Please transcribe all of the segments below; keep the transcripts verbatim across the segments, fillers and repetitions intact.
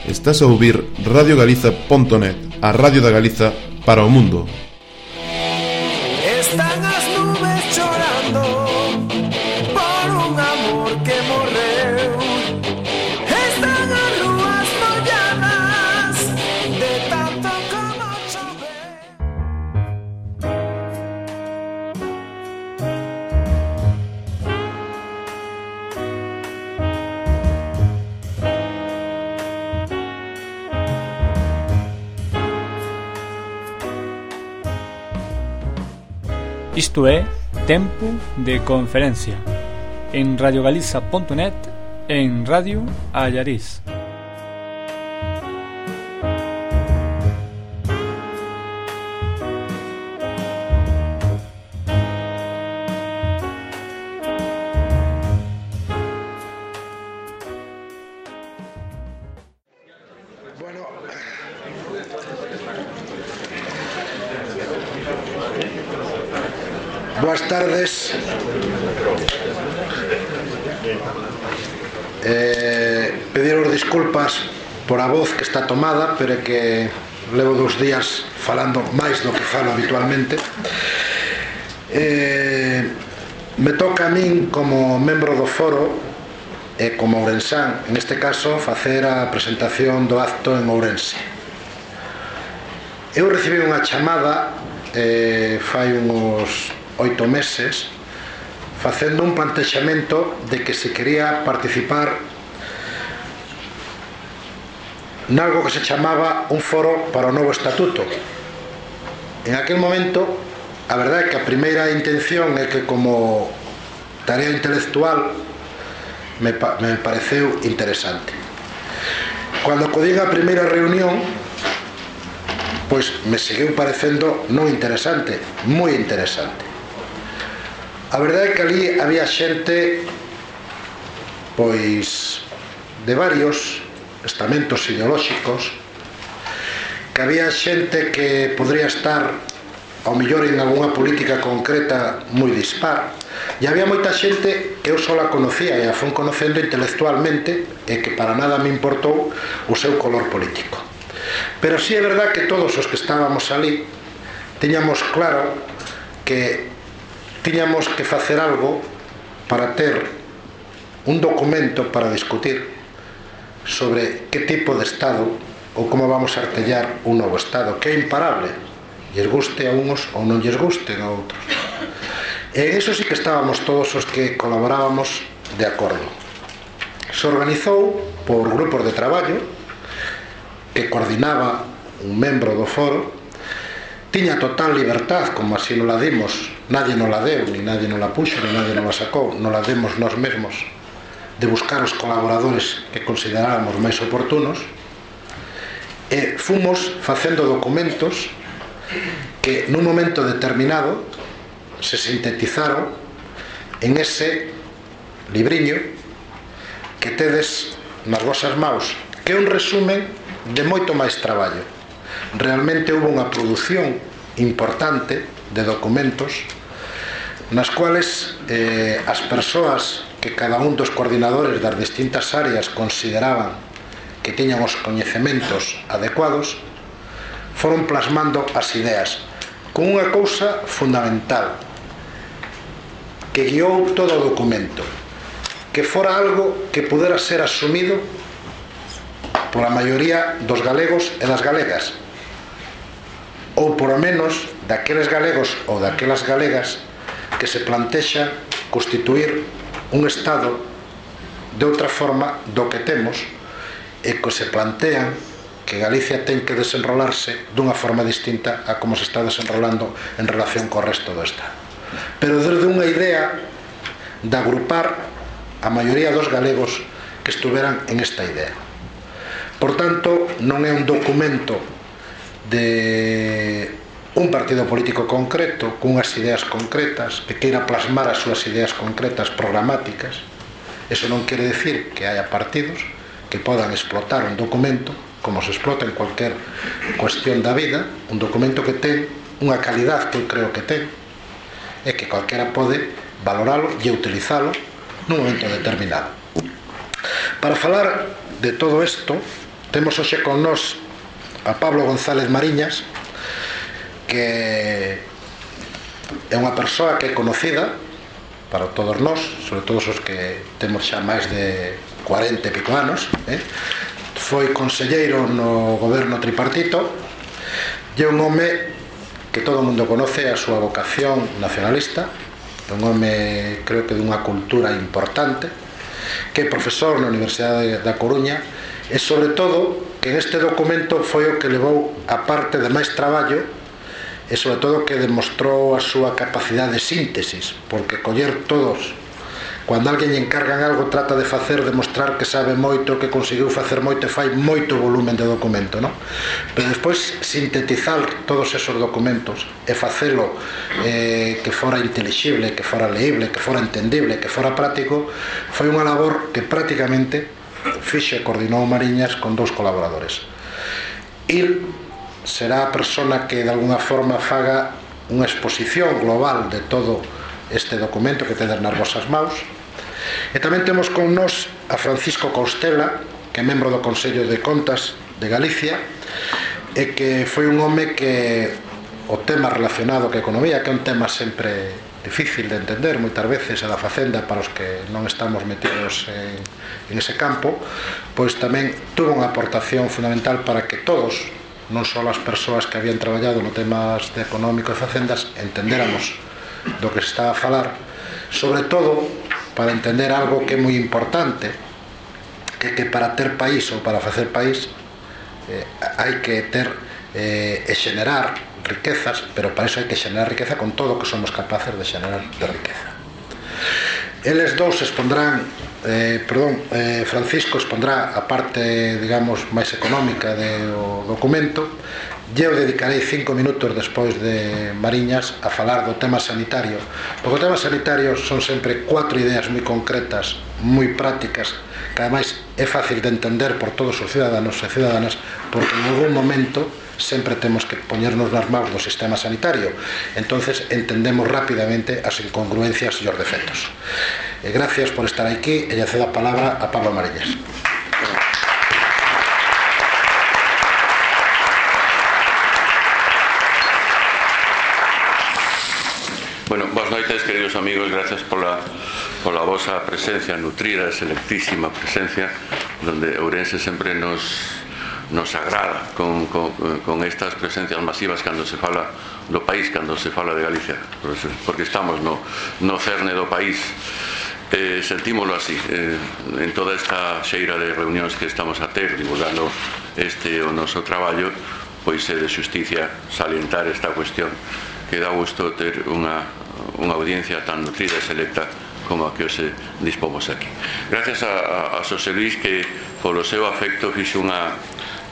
Estás a ouvir radio galiza punto net, a radio da Galiza para o mundo. Están as nubes chorando por un amor que morreu. Están as rúas molladas de tanto como chove. Isto é Tempo de Conferencia en radio galiza punto net e en Radio Allariz. Bueno, boas tardes. eh, Pediros disculpas por a voz que está tomada, pero é que levo dous días falando máis do que falo habitualmente. eh, Me toca a min, como membro do foro e como ourensán, en este caso, facer a presentación do acto en Ourense. Eu recibi unha chamada eh, fai uns oito meses facendo un plantexamento de que se quería participar nalgo que se chamaba un foro para o novo estatuto. En aquel momento, a verdade é que a primeira intención é que, como tarea intelectual, me, pa me pareceu interesante. Cando acudín a primeira reunión, pois me seguiu parecendo non interesante, moi interesante. A verdade é que ali había xente, pois, de varios estamentos ideolóxicos, que había xente que podría estar ao mellor en algunha política concreta moi dispar, e había moita xente que eu só la conocía e a fun conocendo intelectualmente e que para nada me importou o seu color político. Pero sí é verdad que todos os que estábamos ali tiñamos claro que tiñamos que facer algo para ter un documento para discutir sobre que tipo de Estado ou como vamos a artellar un novo Estado que é imparable, lles guste a uns ou non lles gusten a outros. E en eso sí que estábamos todos os que colaborábamos de acordo. Se organizou por grupos de traballo que coordinaba un membro do foro. Tiña total libertad, como así nos la dimos, nadie nos la deu, ni nadie nos la puxo, ni nadie nos la sacou, nos la demos nós mesmos, de buscar os colaboradores que consideráramos máis oportunos, e fomos facendo documentos que nun momento determinado se sintetizaron en ese libriño que tedes nas vosas maus, que é un resumen de moito máis traballo. Realmente houve unha produción importante de documentos nas cuales eh, as persoas que cada un dos coordinadores das distintas áreas consideraban que tiñan os coñecementos adecuados foron plasmando as ideas con unha cousa fundamental que guiou todo o documento, que fora algo que pudera ser asumido pola maioría dos galegos e das galegas, ou por lo menos daqueles galegos ou daquelas galegas que se plantexan constituir un Estado de outra forma do que temos e que se plantean que Galicia ten que desenrolarse dunha forma distinta a como se está desenrolando en relación co resto do Estado, pero desde unha idea de agrupar a maioría dos galegos que estuveran en esta idea. Por tanto, non é un documento de un partido político concreto cunhas ideas concretas que queira plasmar as súas ideas concretas programáticas. Eso non quere decir que haya partidos que podan explotar un documento como se explota en cualquier cuestión da vida, un documento que ten unha calidad que eu creo que ten e que calquera pode valoralo e utilizalo nun momento determinado. Para falar de todo isto, Temos hoxe con nós a Pablo González Mariñas, que é unha persoa que é conocida para todos nós, sobre todo os que temos xa máis de cuarenta e pico anos, eh? Foi conselleiro no goberno tripartito e é un home que todo o mundo conoce a súa vocación nacionalista, un home creo que dunha cultura importante, que é profesor na Universidade da Coruña, e sobre todo que neste documento foi o que levou a parte de máis traballo e sobre todo que demostrou a súa capacidade de síntesis, porque coller todos, cando alguén lle encargan algo, trata de facer, demostrar que sabe moito, que conseguiu facer moito e fai moito volumen de documento, non? Pero despois sintetizar todos esos documentos e facelo eh, que fora intelixible, que fora leíble, que fora entendible, que fora práctico, foi unha labor que prácticamente fixe e coordinou Mariñas con dous colaboradores. Il será a persona que de alguna forma faga unha exposición global de todo este documento que tedes nas vosas maus. E tamén temos con nós a Francisco Costela, que é membro do Consello de Contas de Galicia e que foi un home que o tema relacionado ca economía, que é un tema sempre difícil de entender moitas veces a da facenda para os que non estamos metidos en, en ese campo, pois tamén tuvo unha aportación fundamental para que todos, non só as persoas que habían traballado no temas de económico e facendas, entendéramos do que se está a falar, sobre todo para entender algo que é moi importante, que que para ter país ou para facer país eh, hai que ter eh, e xenerar riquezas, pero para iso hai que xenerar riqueza con todo o que somos capaces de xenerar de riqueza. Eles dous expondrán, eh, perdón, eh, Francisco expondrá a parte, digamos, máis económica do documento. Eu dedicarei cinco minutos despois de Mariñas a falar do tema sanitario, porque o tema sanitario son sempre cuatro ideas moi concretas, moi prácticas, que ademais é fácil de entender por todos os ciudadanos e ciudadanas, porque en algún momento sempre temos que poñernos nas mãos do sistema sanitario, entonces entendemos rapidamente as incongruencias e os defectos. E gracias por estar aquí e lle cedo a palabra a Pablo Mariñas. Bueno, boas noites, queridos amigos, gracias pola, pola vosa presencia nutrida, selectísima presencia, donde Ourense sempre nos, nos agrada con, con, con estas presencias masivas cando se fala do país, cando se fala de Galicia, porque estamos no, no cerne do país. Eh, sentímolo así, eh, en toda esta xeira de reunións que estamos a ter, divulgando este o noso traballo, pois é de xusticia salientar esta cuestión, que dá gusto ter unha, unha audiencia tan nutrida e selecta como a que hoxe dispomos aquí. Gracias a, a, a Xosé Luis, que polo seu afecto fixe unha,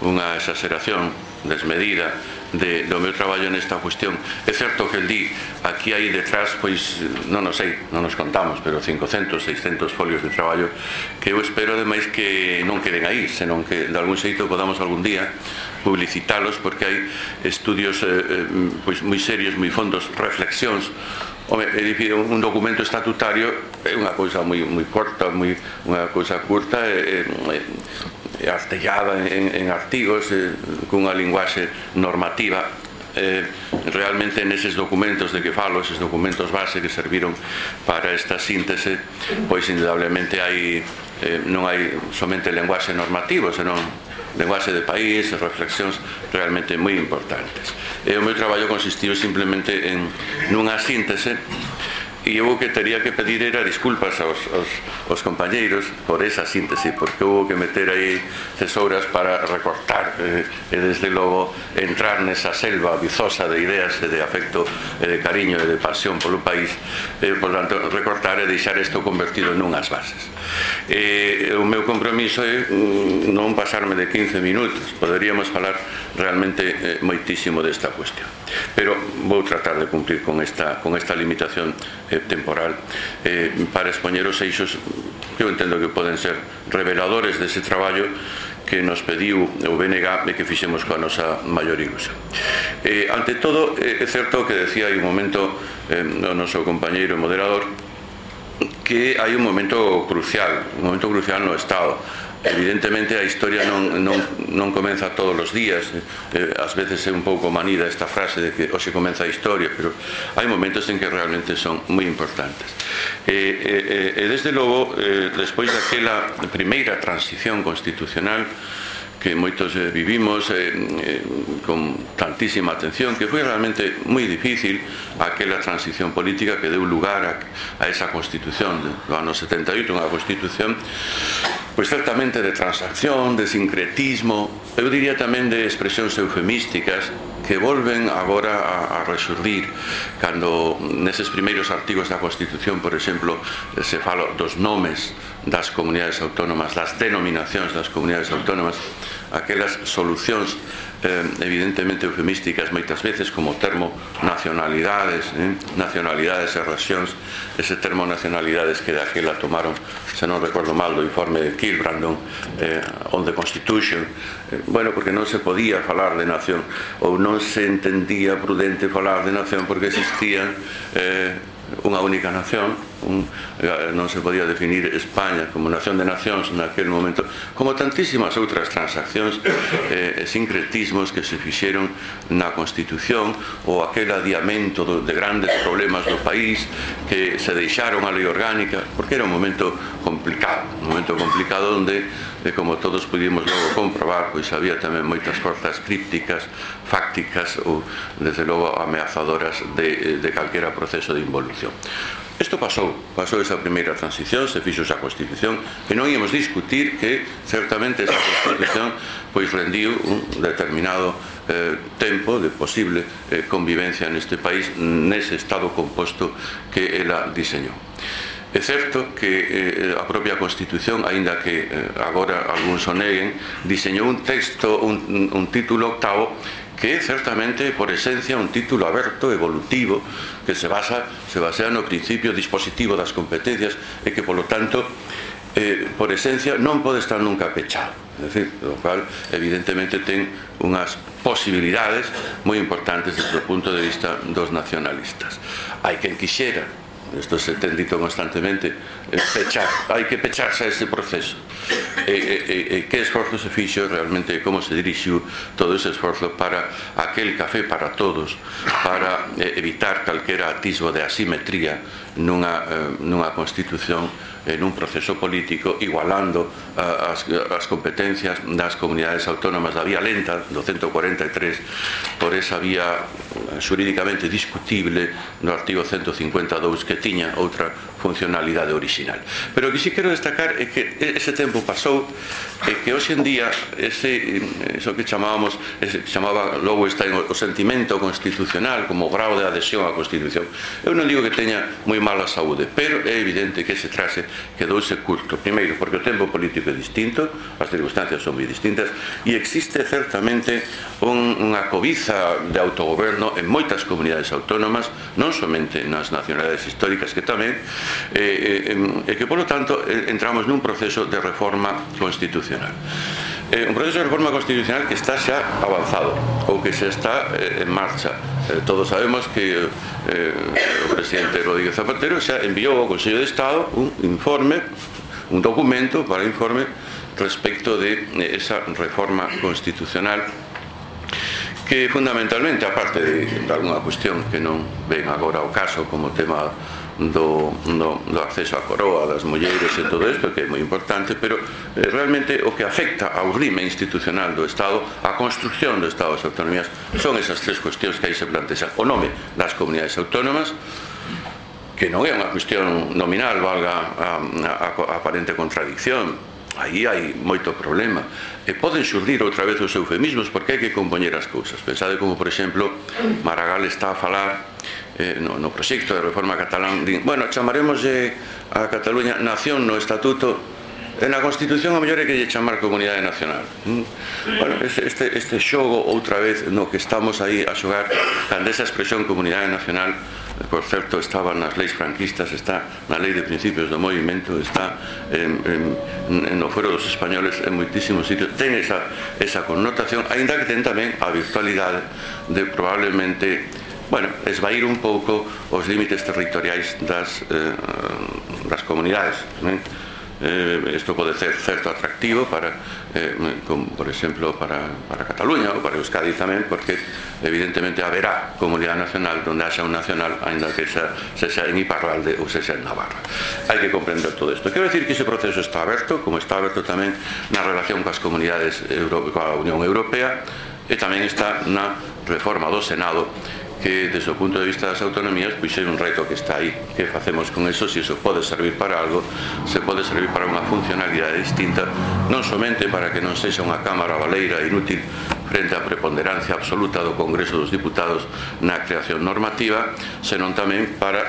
unha exageración desmedida de, do meu traballo nesta cuestión. É certo que el di, aquí hai detrás, pois, non nos sei, non nos contamos, pero cincocentos, seiscentos folios de traballo que eu espero ademais que non queden aí, senón que de algún xeito podamos algún día publicitalos, porque hai estudios eh, eh, pois moi serios, moi fondos, reflexións. Home, é dicir, un documento estatutario é unha cousa moi, moi corta, moi, unha cousa curta e, e, e artellada en, en artigos e, cunha linguaxe normativa. Eh, realmente neses documentos de que falo, eses documentos base que serviron para esta síntese, pois indudablemente hai eh, non hai somente lenguaxe normativo, senón lenguaxe de país, reflexións realmente moi importantes. E o meu traballo consistiu simplemente en nunha síntese, e eu o que teria que pedir era disculpas aos, aos, aos compañeiros por esa síntese, porque houve que meter aí tesouras para recortar eh, e desde logo entrar nesa selva vizosa de ideas e de afecto e de cariño e de pasión polo país, e por tanto recortar e deixar isto convertido nunhas bases. E o meu compromiso é non pasarme de quince minutos, poderíamos falar realmente eh, moitísimo desta cuestión, pero vou tratar de cumplir con esta, con esta limitación eh, temporal eh, para expoñer os eixos que eu entendo que poden ser reveladores dese traballo que nos pediu o B N G e que fixemos coa nosa maior ilusión. Eh, ante todo, eh, é certo que decía aí un momento eh, o noso compañeiro moderador que hai un momento crucial, un momento crucial no Estado. evidentemente a historia non, non, non comeza todos os días, eh, ás veces é un pouco manida esta frase de que hoxe comeza a historia, pero hai momentos en que realmente son moi importantes. E, e, e desde logo, eh, despois daquela primeira transición constitucional que moitos eh, vivimos eh, eh, con tantísima atención, que foi realmente moi difícil aquela transición política que deu lugar a, a esa Constitución do ano setenta e oito, unha Constitución pois certamente de transacción, de sincretismo, eu diría tamén de expresións eufemísticas que volven agora a, a resurdir cando neses primeiros artigos da Constitución, por exemplo, se fala dos nomes das comunidades autónomas, das denominacións das comunidades autónomas, aquelas solucións eh, evidentemente eufemísticas moitas veces como o termo nacionalidades, eh, nacionalidades e rexións, ese termo nacionalidades que daquela tomaron, se non recordo mal, do informe de Kilbrandon eh, on the Constitution, eh, bueno, porque non se podía falar de nación ou non se entendía prudente falar de nación porque existían eh, unha única nación, un, non se podía definir España como nación de nacións naquele momento, como tantísimas outras transaccións e eh, sincretismos que se fixeron na Constitución, ou aquel adiamento de grandes problemas do país que se deixaron a lei orgánica, porque era un momento complicado, un momento complicado onde, eh, como todos pudimos logo comprobar, pois había tamén moitas forzas crípticas, fácticas ou, desde logo, ameazadoras de, de calquera proceso de involución. Isto pasou, pasou esa primeira transición, se fixo esa Constitución, que non íamos discutir que certamente esa Constitución pois rendiu un determinado eh, tempo de posible eh, convivencia neste país nese estado composto que ela diseñou. É certo que eh, a propia Constitución, aínda que eh, agora algúns o neguen, diseñou un texto, un, un título octavo que é certamente por esencia un título aberto, evolutivo, que se basa se basea no principio dispositivo das competencias e que, polo tanto, eh, por esencia non pode estar nunca pechado. É dicir, o cual evidentemente ten unhas posibilidades moi importantes desde o punto de vista dos nacionalistas. Hai quen quixera, isto se ten dito constantemente, pechar, hai que pecharse a ese proceso. E, e, e que esforzo se fixo realmente, como se dirixiu todo ese esforzo para aquel café para todos, para eh, evitar calquera atisbo de asimetría nunha, eh, nunha Constitución, en un proceso político, igualando uh, as, as competencias das comunidades autónomas da vía lenta do ciento cuarenta e tres por esa vía xurídicamente discutible no artigo ciento cincuenta e dous que tiña outra funcionalidade original. Pero o que si quero destacar é que ese tempo pasou e que hoxe en día ese, eso que chamábamos, ese que chamaba logo está o sentimento constitucional como grau de adhesión á Constitución, eu non digo que teña moi mala saúde, pero é evidente que ese trase quedouse curto. Primeiro, porque o tempo político é distinto, as circunstancias son moi distintas e existe certamente un, unha cobiza de autogoberno en moitas comunidades autónomas, non somente nas nacionalidades históricas, que tamén, e eh, eh, que, polo tanto, eh, entramos nun proceso de reforma constitucional. Eh, un proceso de reforma constitucional que está xa avanzado ou que xa está eh, en marcha. Eh, todos sabemos que eh, o presidente Rodríguez Zapatero xa enviou ao Consello de Estado un informe, un documento para informe respecto de eh, esa reforma constitucional que fundamentalmente, aparte de, de alguna cuestión que non ven agora ao caso como tema Do, do, do acceso á coroa das mulleres e todo isto, que é moi importante, pero eh, realmente o que afecta ao rime institucional do Estado, a construcción do Estado das autonomías, son esas tres cuestións que aí se plantexan: o nome das comunidades autónomas, que non é unha cuestión nominal, valga a, a, a aparente contradicción, aí hai moito problema, e poden xurdir outra vez os eufemismos porque hai que compoñer as cousas. Pensade como, por exemplo, Maragall está a falar eh, no, no proxecto de reforma catalán, din, bueno, chamaremos eh, a Cataluña nación no estatuto, e na Constitución a mellor é que lle chamar comunidade nacional. Mm? Bueno, este, este xogo outra vez no que estamos aí a xogar, cando esa expresión comunidade nacional, por certo, estaba nas leis franquistas, está na lei de principios do movimento, está en, en, no fuero dos españoles en moitísimos sitios, ten esa, esa connotación, aínda que ten tamén a virtualidade de probablemente, bueno, esvair un pouco os límites territoriais das, eh, das comunidades, né? eh, isto pode ser certo atractivo para, eh, como, por exemplo, para, para Cataluña ou para Euskadi tamén, porque evidentemente haberá comunidade nacional donde haxa un nacional, ainda que xa, sexa en Iparralde ou sexa en Navarra. Hai que comprender todo isto. Quero dicir que ese proceso está aberto, como está aberto tamén na relación coas comunidades, Euro, coa Unión Europea, e tamén está na reforma do Senado, que desde o punto de vista das autonomías pois é un reto que está aí. Que facemos con eso? Se iso pode servir para algo, se pode servir para unha funcionalidade distinta, non somente para que non sexa unha cámara baleira inútil frente á preponderancia absoluta do Congreso dos Diputados na creación normativa, senón tamén para,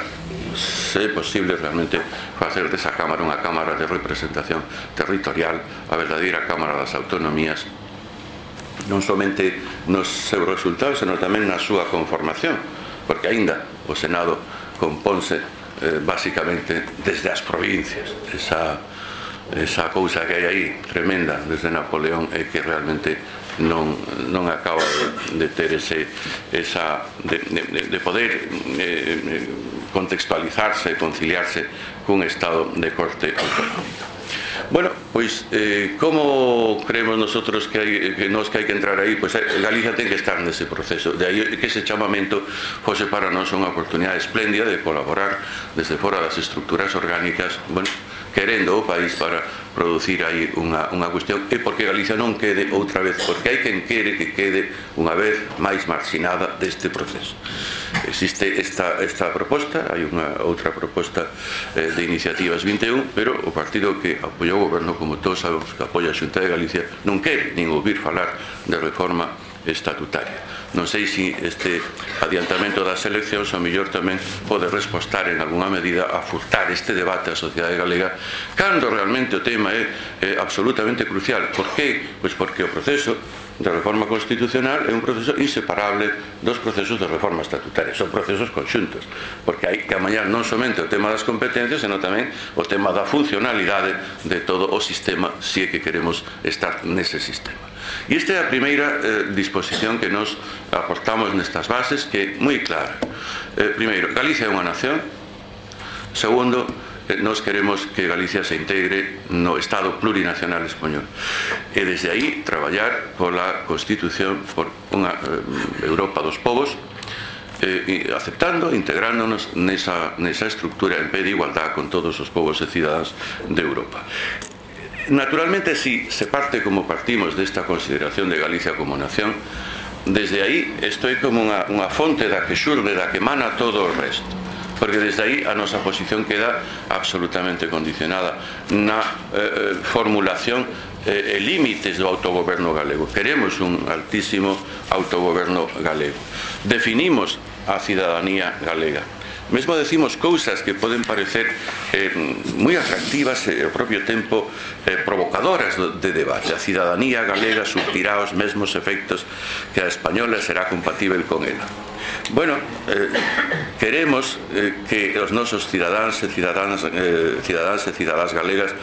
se é posible, realmente facer desa cámara unha cámara de representación territorial, a verdadeira Cámara das Autonomías, non somente nos seus resultados, senón tamén na súa conformación, porque aínda o Senado compónse eh, basicamente desde as provincias. Esa, esa cousa que hai aí tremenda desde Napoleón é que realmente non, non acaba de, de ter ese, esa, de, de, de poder eh, contextualizarse e conciliarse cun Estado de corte autonómica. Bueno, pois, eh, como creemos nosotros que, hai, que nos que hai que entrar aí? Pois Galicia ten que estar nese proceso. De aí que ese chamamento fose para nós unha oportunidade espléndida de colaborar desde fora das estructuras orgánicas, bueno, querendo o país para producir aí unha, unha cuestión, e porque Galicia non quede outra vez, porque hai quen quere que quede unha vez máis marxinada deste proceso. Existe esta, esta proposta, hai unha outra proposta eh, de Iniciativas vinte e un, pero o partido que apoia o goberno, como todos sabemos que apoia a Xunta de Galicia, non quere nin ouvir falar de reforma estatutaria. Non sei se este adiantamento das eleccións ao mellor tamén pode respostar en algunha medida a furtar este debate á sociedade galega, cando realmente o tema é, é absolutamente crucial. Por que? Pois porque o proceso de reforma constitucional é un proceso inseparable dos procesos de reforma estatutaria. Son procesos conxuntos, porque hai que amañar non somente o tema das competencias, senón tamén o tema da funcionalidade de todo o sistema, se é que queremos estar nese sistema. E esta é a primeira eh, disposición que nos aportamos nestas bases, que é moi clara. Eh, primeiro, Galicia é unha nación. Segundo, eh, nos queremos que Galicia se integre no Estado plurinacional español. E desde aí traballar pola Constitución, por unha eh, Europa dos povos, eh, aceptando, integrándonos nesa, nesa estructura en pé de igualdad con todos os povos e cidadáns de Europa. Naturalmente, si se parte como partimos desta consideración de Galicia como nación, desde aí isto é como unha, unha fonte da que xurde, da que emana todo o resto, porque desde aí a nosa posición queda absolutamente condicionada na eh, formulación e eh, límites do autogoberno galego. Queremos un altísimo autogoberno galego. Definimos a cidadanía galega. Mesmo decimos cousas que poden parecer eh, moi atractivas e ao propio tempo eh, provocadoras de debate. A cidadanía galega surtirá os mesmos efectos que a española, será compatível con ela. Bueno, eh, queremos eh, que os nosos cidadáns e cidadáns, eh, cidadáns e cidadás galegas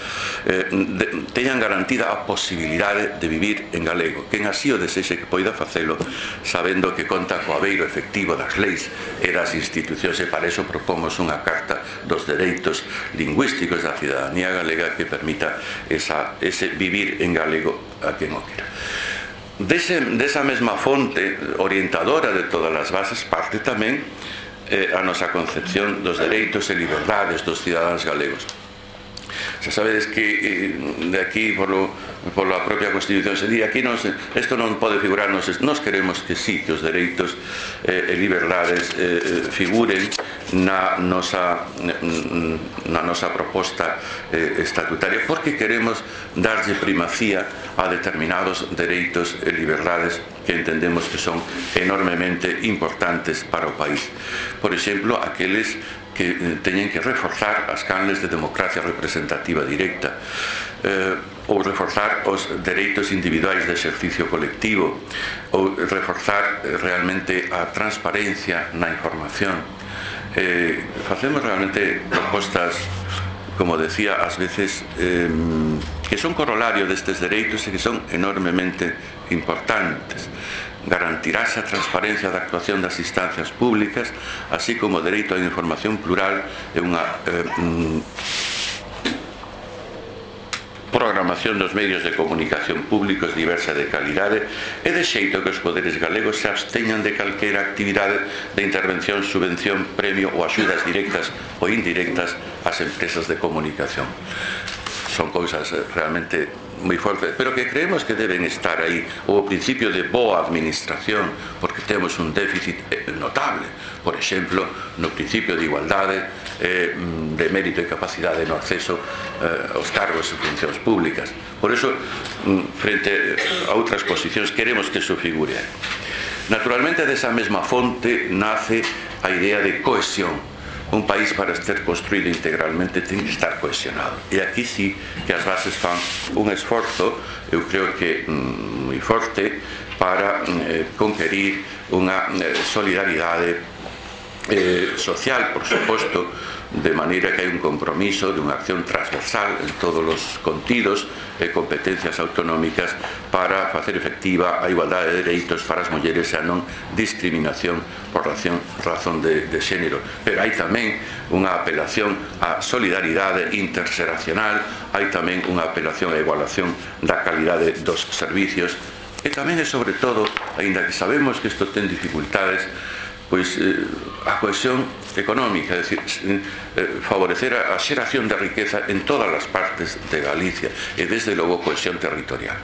eh, de, teñan garantida a posibilidade de vivir en galego. Quen así o desexe que poida facelo, sabendo que conta co abeiro efectivo das leis e das institucións, e para iso propomos unha carta dos dereitos lingüísticos da cidadanía galega que permita esa, ese vivir en galego a quen o quera. Dese, desa mesma fonte orientadora de todas as bases parte tamén eh, a nosa concepción dos dereitos e liberdades dos cidadáns galegos. Xa sabedes que eh, de aquí polo, pola propia Constitución se di, aquí non se, isto non pode figurar, nos, nos queremos que sí, que os dereitos eh, e liberdades eh, figuren na nosa, na nosa proposta eh, estatutaria, porque queremos darlle primacía a determinados dereitos e liberdades que entendemos que son enormemente importantes para o país. Por exemplo, aqueles que teñen que reforzar as canles de democracia representativa directa, eh, ou reforzar os dereitos individuais de exercicio colectivo, ou reforzar realmente a transparencia na información. Eh, facemos realmente propostas, como decía, ás veces eh, que son corolario destes dereitos e que son enormemente importantes. Garantirase a transparencia da actuación das instancias públicas, así como o dereito á información plural e unha eh, programación dos medios de comunicación públicos diversa de calidade e de xeito que os poderes galegos se absteñan de calquera actividade de intervención, subvención, premio ou axudas directas ou indirectas ás empresas de comunicación. Son cousas realmente moi fortes, pero que creemos que deben estar aí, o principio de boa administración, porque temos un déficit notable, por exemplo, no principio de igualdade, eh, de mérito e capacidade no acceso eh, aos cargos e funcións públicas. Por iso, frente a outras posicións, queremos que iso figure. Naturalmente, desa mesma fonte nace a idea de cohesión. Un país, para ser construído integralmente, ten que estar cohesionado. E aquí sí que as bases fan un esforzo, eu creo que mm, moi forte, para eh, conquerir unha eh, solidaridade eh, social, por suposto, de maneira que hai un compromiso de unha acción transversal en todos os contidos e competencias autonómicas para facer efectiva a igualdade de dereitos para as mulleres e a non discriminación por razón, razón de, de xénero. Pero hai tamén unha apelación á solidaridade interxeracional, hai tamén unha apelación á igualación da calidade dos servicios e tamén e sobre todo, aínda que sabemos que isto ten dificultades, pois eh, a cohesión económica, é dicir, eh, favorecer a, a xeración de riqueza en todas as partes de Galicia e desde logo cohesión territorial.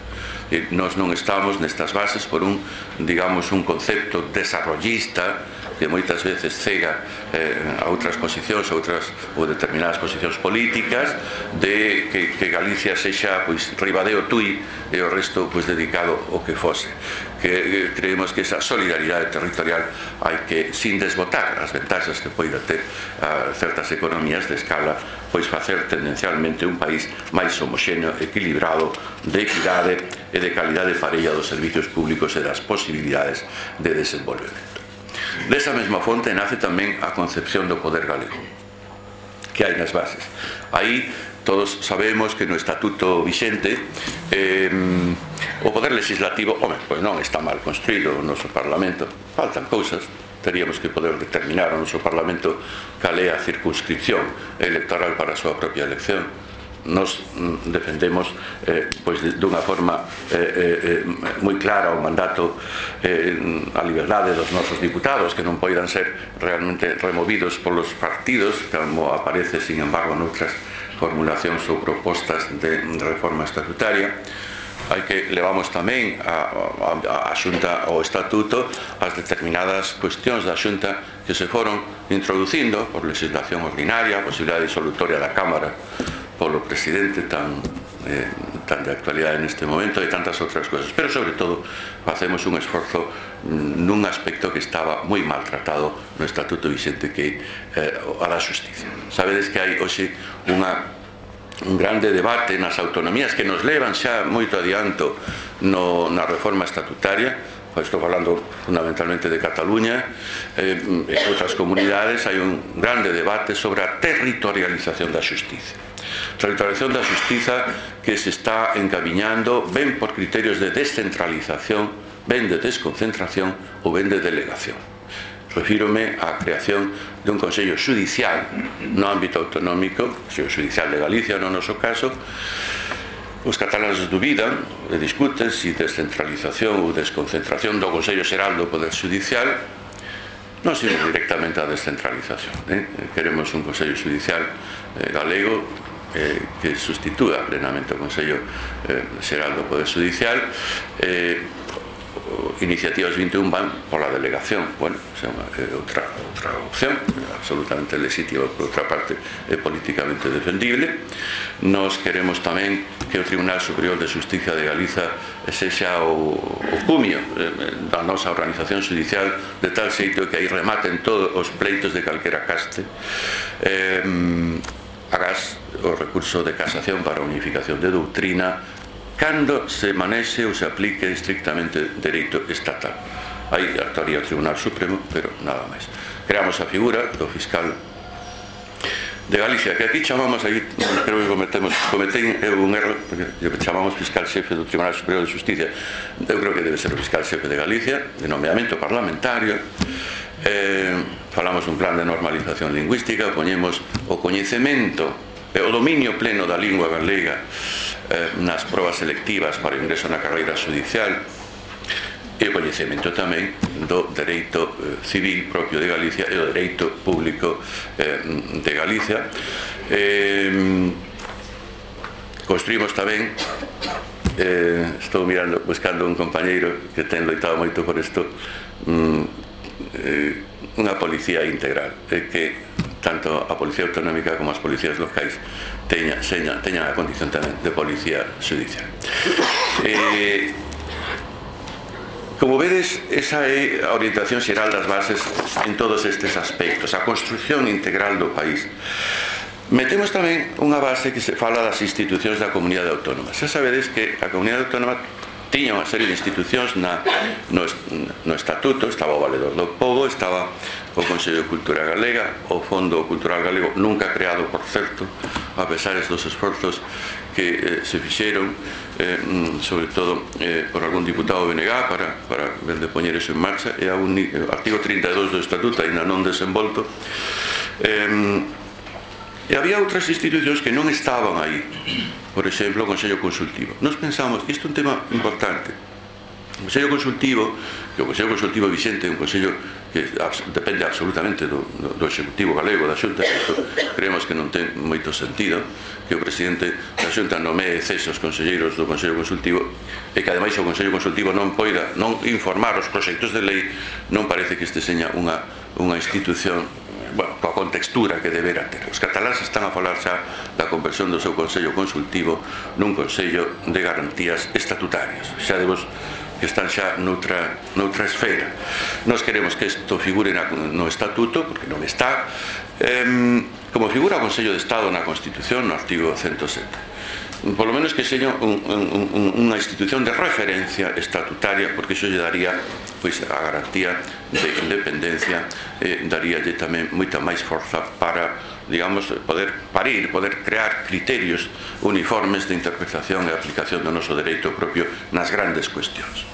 E nós non estamos nestas bases por un, digamos, un concepto desarrollista que moitas veces cega eh, a outras posicións, a outras ou determinadas posicións políticas, de que, que Galicia sexa pois Ribadeo Tui e o resto pois dedicado ao que fose. Que eh, creemos que esa solidaridade territorial hai que, sin desbotar as ventaxas que poida ter a certas economías de escala, pois facer tendencialmente un país máis homoxéneo, equilibrado, de equidade e de calidade parella dos servicios públicos e das posibilidades de desenvolvemento. Desa mesma fonte nace tamén a concepción do poder galego que hai nas bases. Aí todos sabemos que no estatuto vixente eh, o poder legislativo, home, pois non está mal construído o noso Parlamento, faltan cousas. Teríamos que poder determinar o noso Parlamento cal é a circunscripción electoral para a súa propia elección. Nos defendemos eh, pois dunha forma eh, eh, moi clara o mandato, eh, a liberdade dos nosos diputados, que non poidan ser realmente removidos polos partidos, como aparece, sin embargo, noutras formulacións ou propostas de reforma estatutaria. Hai que levamos tamén a, a, a Xunta ao Estatuto as determinadas cuestións da Xunta que se foron introducindo por legislación ordinaria, a posibilidade disolutoria da Cámara polo presidente tan, eh, tan de actualidade neste momento e tantas outras cousas, pero sobre todo facemos un esforzo nun aspecto que estaba moi maltratado no Estatuto Vixente, que é eh, a da xusticia. Sabedes que hai hoxe unha un grande debate nas autonomías que nos levan xa moito adianto no, na reforma estatutaria. Estou falando fundamentalmente de Cataluña, eh, en outras comunidades hai un grande debate sobre a territorialización da xustiza. Territorialización da xustiza que se está encamiñando ben por criterios de descentralización, ben de desconcentración ou ben de delegación. Refírome á creación de un Consello Judicial no ámbito autonómico, Consello Judicial de Galicia no noso caso. Os cataláns dubidan e discuten se descentralización ou desconcentración do Consello Xeral do Poder Judicial. Non sino directamente a descentralización, eh? Queremos un Consello Judicial eh, galego eh, que sustitúa plenamente o Consello eh, Xeral do Poder Judicial. eh, Iniciativas vinte e un van pola delegación. Bueno, é unha, é outra, outra opción, é absolutamente legítima, por outra parte é políticamente defendible. Nos queremos tamén que o Tribunal Superior de Xustiza de Galiza sexa o, o cumio eh, da nosa organización judicial, de tal xeito que aí rematen todos os pleitos de calquera caste. eh, Agás o recurso de casación para unificación de doutrina cando se manexe ou se aplique estrictamente dereito estatal. Aí actuaría o Tribunal Supremo, pero nada máis. Creamos a figura do fiscal de Galicia, que aquí chamamos, aí creo que cometemos, cometei un erro, porque chamamos fiscal xefe do Tribunal Superior de Justicia. Eu creo que debe ser o fiscal xefe de Galicia, de nomeamento parlamentario. Eh, falamos dun plan de normalización lingüística, poñemos o coñecemento o dominio pleno da lingua galega eh, nas probas selectivas para o ingreso na carreira judicial, e o coñecemento tamén do dereito eh, civil propio de Galicia e o dereito público eh, de Galicia. Eh, construímos tamén, eh, estou mirando, buscando un compañeiro que ten loitado moito por isto, mm, eh, unha policía integral, eh, que tanto a Policía Autonómica como as policías locais teña, seña, teñan a condición tamén de policía judicial. Eh, Como vedes, esa é a orientación xeral das bases en todos estes aspectos, a construción integral do país. Metemos tamén unha base que se fala das institucións da Comunidade Autónoma. Xa sabedes que a Comunidade Autónoma tiña unha serie de institucións na, no, no Estatuto, estaba o Valedor do Pobo, estaba o Consello de Cultura Galega, o Fondo Cultural Galego, nunca creado, por certo, a pesar dos esforzos que eh, se fixeron, eh, sobre todo eh, por algún diputado B N G para, para ver de poñer eso en marcha, e a un eh, artigo trinta e dous do Estatuto ainda non desenvolto. Eh, e había outras institucións que non estaban aí, por exemplo, o Consello Consultivo. Nos pensamos, isto é un tema importante. O Consello Consultivo, que o Consello Consultivo Vicente é un consello que depende absolutamente do, do Executivo galego, da Xunta, isto creemos que non ten moito sentido que o presidente da Xunta nomee cesos conselleiros do Consello Consultivo, e que ademais o Consello Consultivo non poida non informar os proxectos de lei. Non parece que este seña unha, unha institución, bueno, coa contextura que debera ter. Os cataláns están a falar xa da conversión do seu Consello Consultivo nun Consello de Garantías Estatutarias. Xa debos que están xa noutra, noutra esfera. Nós queremos que isto figure na, no Estatuto, porque non está, eh, como figura o Consello de Estado na Constitución, no artigo ciento sete. Por lo menos que seña un, un, unha institución de referencia estatutaria, porque iso lle daría pois, a garantía de independencia, eh, daríalle tamén moita máis forza para, digamos, poder parir, poder crear criterios uniformes de interpretación e aplicación do noso dereito propio nas grandes cuestións.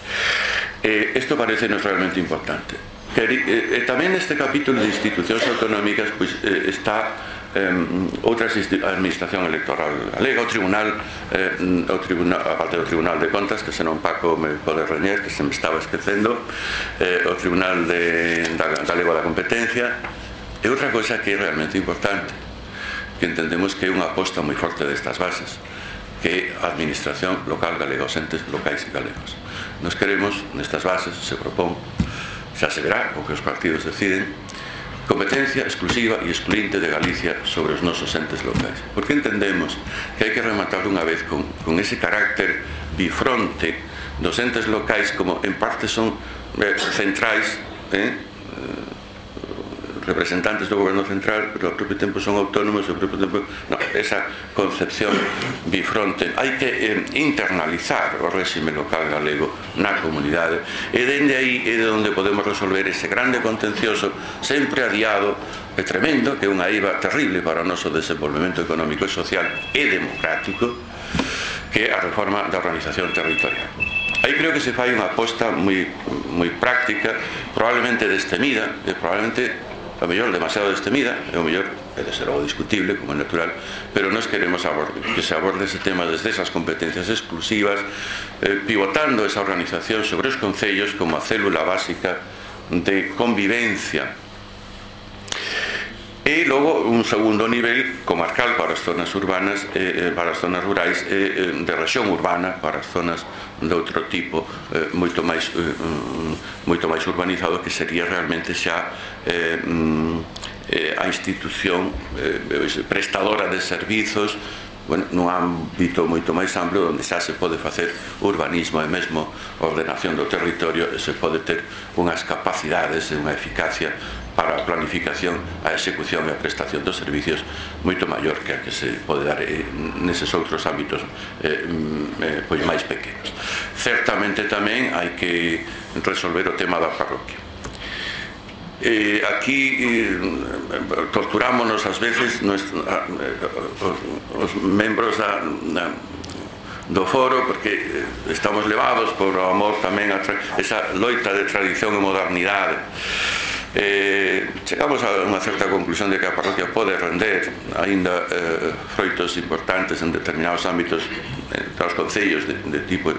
Eh, isto parece-nos realmente importante. E eh, eh, tamén neste capítulo de institucións autonómicas pois, eh, está eh, outra administración electoral galega, o Tribunal, eh, o tribunal, a parte do Tribunal de Contas, que senón Paco me pode reñer, que se me estaba esquecendo, eh, o Tribunal de, da, Galego da Competencia, e outra cosa que é realmente importante, que entendemos que é unha aposta moi forte destas bases, que é a administración local galega, os entes locais galegos. Nos queremos, nestas bases, se propón, xa se verá o que os partidos deciden, competencia exclusiva e excluinte de Galicia sobre os nosos entes locais. Porque entendemos que hai que rematar unha vez con, con ese carácter bifronte dos entes locais, como en parte son eh, centrais, eh, representantes do goberno central, pero ao propio tempo son autónomos, ao propio tempo... No, esa concepción bifronte. Hai que eh, internalizar o réxime local galego na comunidade, e dende aí é de onde podemos resolver ese grande contencioso sempre adiado e tremendo, que é unha eiva terrible para o noso desenvolvemento económico e social e democrático, que é a reforma da organización territorial. Aí creo que se fai unha aposta moi, moi práctica, probablemente destemida, e probablemente o mellor demasiado destemida, e o mellor é de ser algo discutible, como é natural, pero nós queremos aborde, que se aborde ese tema desde esas competencias exclusivas, eh, pivotando esa organización sobre os concellos como a célula básica de convivencia. E logo un segundo nivel comarcal para as zonas urbanas, eh, para as zonas rurais, eh, de rexión urbana para as zonas de outro tipo, eh, moito máis eh, moito máis urbanizado, que sería realmente xa eh, eh, a institución eh, prestadora de servizos, bueno, nun ámbito moito máis amplo, onde xa se pode facer urbanismo e mesmo ordenación do territorio, e se pode ter unhas capacidades e unha eficacia para a planificación, a execución e a prestación dos servicios moito maior que a que se pode dar eh, neses outros ámbitos eh, eh, pois máis pequenos. Certamente tamén hai que resolver o tema da parroquia. Eh, aquí eh, torturámonos ás veces nos, a, os, os membros da, da, do foro, porque estamos levados por o amor tamén a esa loita de tradición e modernidade. Eh, chegamos a unha certa conclusión de que a parroquia pode render aínda eh, froitos importantes en determinados ámbitos entre os concellos de, de tipo eh,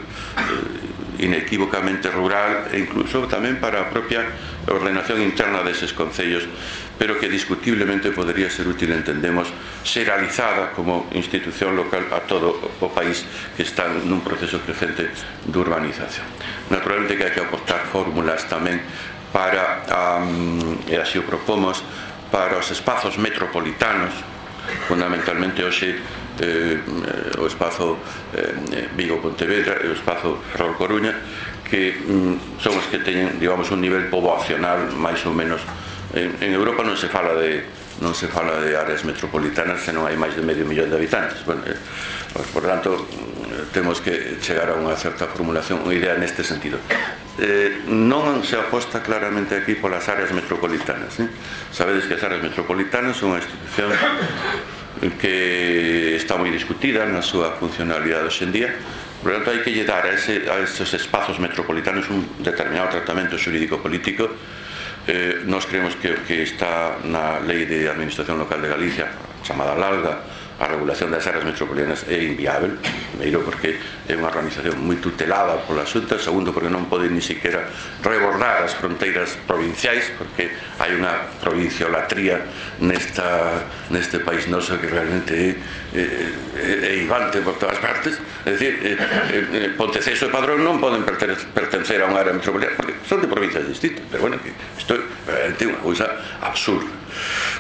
inequívocamente rural e incluso tamén para a propia ordenación interna deses concellos, pero que discutiblemente podría ser útil, entendemos, ser realizada como institución local a todo o país que está nun proceso crecente de urbanización. Naturalmente que hai que aportar fórmulas tamén para, um, e así o propomos, para os espazos metropolitanos, fundamentalmente hoxe eh, o espazo eh, Vigo-Pontevedra e o espazo Ferrol-Coruña, que mm, son os que teñen, digamos, un nivel poboacional máis ou menos. En, en Europa non se fala de non se fala de áreas metropolitanas se non hai máis de medio millón de habitantes. Bueno, eh, por tanto, temos que chegar a unha certa formulación, unha idea neste sentido. Eh, non se aposta claramente aquí polas áreas metropolitanas, eh? Sabedes que as áreas metropolitanas son unha institución que está moi discutida na súa funcionalidade hoxe en día. Por tanto, hai que lle dar a, ese, a esos espazos metropolitanos un determinado tratamento xurídico-político. Eh, nós creemos que, que está na Lei de Administración Local de Galicia, chamada LALGA, a regulación das áreas metropolitanas é inviável. Primeiro, porque é unha organización moi tutelada pola Xunta. Segundo, porque non pode ni siquiera rebordar as fronteiras provinciais, porque hai unha provinciolatría nesta, neste país noso que realmente é, é, é ibante por todas partes. É dicir, é, é, Ponteceso e Padrón non poden pertencer a unha área metropolitana porque son de provincias distintas, pero bueno, que isto é realmente unha cousa absurda.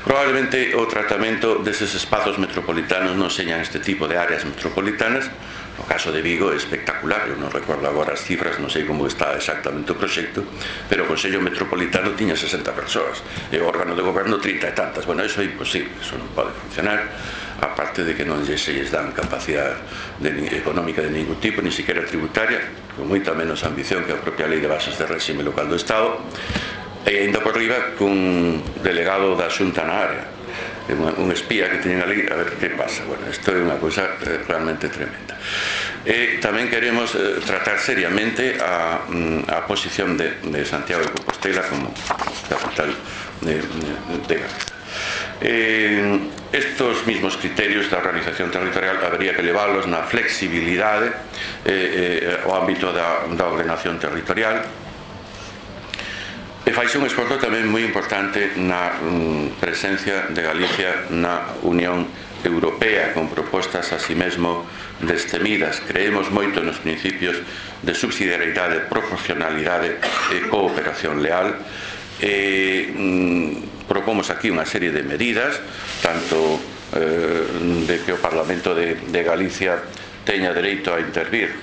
Probablemente o tratamento deses espazos metropolitanos non señan este tipo de áreas metropolitanas. No caso de Vigo é espectacular, eu non recordo agora as cifras, non sei como está exactamente o proxecto, pero o Consello Metropolitano tiña sesenta persoas e o órgano de goberno trinta e tantas. Bueno, iso é imposible, iso non pode funcionar, aparte de que non se lles dan capacidade de, económica de ningún tipo, ni siquiera tributaria, con moita menos ambición que a propia Lei de Bases de Réxime Local do Estado, e ainda por riba cun delegado da Xunta na área, un espía que teñen ali a ver que pasa. Bueno, isto é unha cousa realmente tremenda. E tamén queremos eh, tratar seriamente a, a posición de, de Santiago de Compostela como capital de, de Galicia. Eh, estos mismos criterios da organización territorial habería que leválos na flexibilidade eh, eh, ao ámbito da, da ordenación territorial. E faise un esforzo tamén moi importante na mm, presencia de Galicia na Unión Europea, con propostas así mesmo destemidas. Creemos moito nos principios de subsidiariedade, proporcionalidade e cooperación leal. E mm, propomos aquí unha serie de medidas, tanto eh, de que o Parlamento de, de Galicia teña dereito a intervir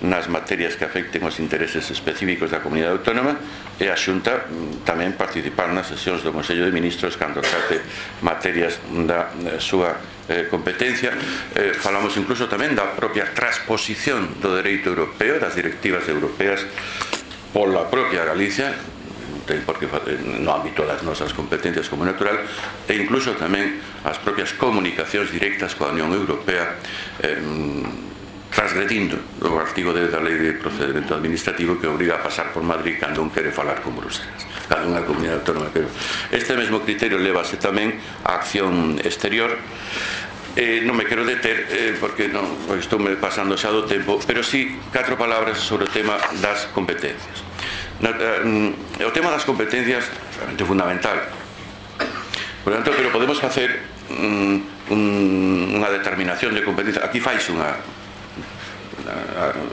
nas materias que afecten os intereses específicos da comunidade autónoma, e a Xunta tamén participar nas sesións do Consello de Ministros cando trate materias da súa eh, competencia. Eh, falamos incluso tamén da propia transposición do dereito europeo, das directivas europeas pola propia Galicia, porque no ámbito das nosas competencias como natural, e incluso tamén as propias comunicacións directas coa Unión Europea, eh, transgredindo o artigo dez da Lei de Procedimento Administrativo, que obriga a pasar por Madrid cando un quere falar con Bruselas, cando unha comunidade autónoma. Este mesmo criterio levase tamén á acción exterior. Eh, non me quero deter eh, porque non, estou me pasando xa do tempo, pero sí catro palabras sobre o tema das competencias. Na, eh, o tema das competencias é realmente fundamental. Por tanto, pero podemos facer um, un, unha determinación de competencias. Aquí fais unha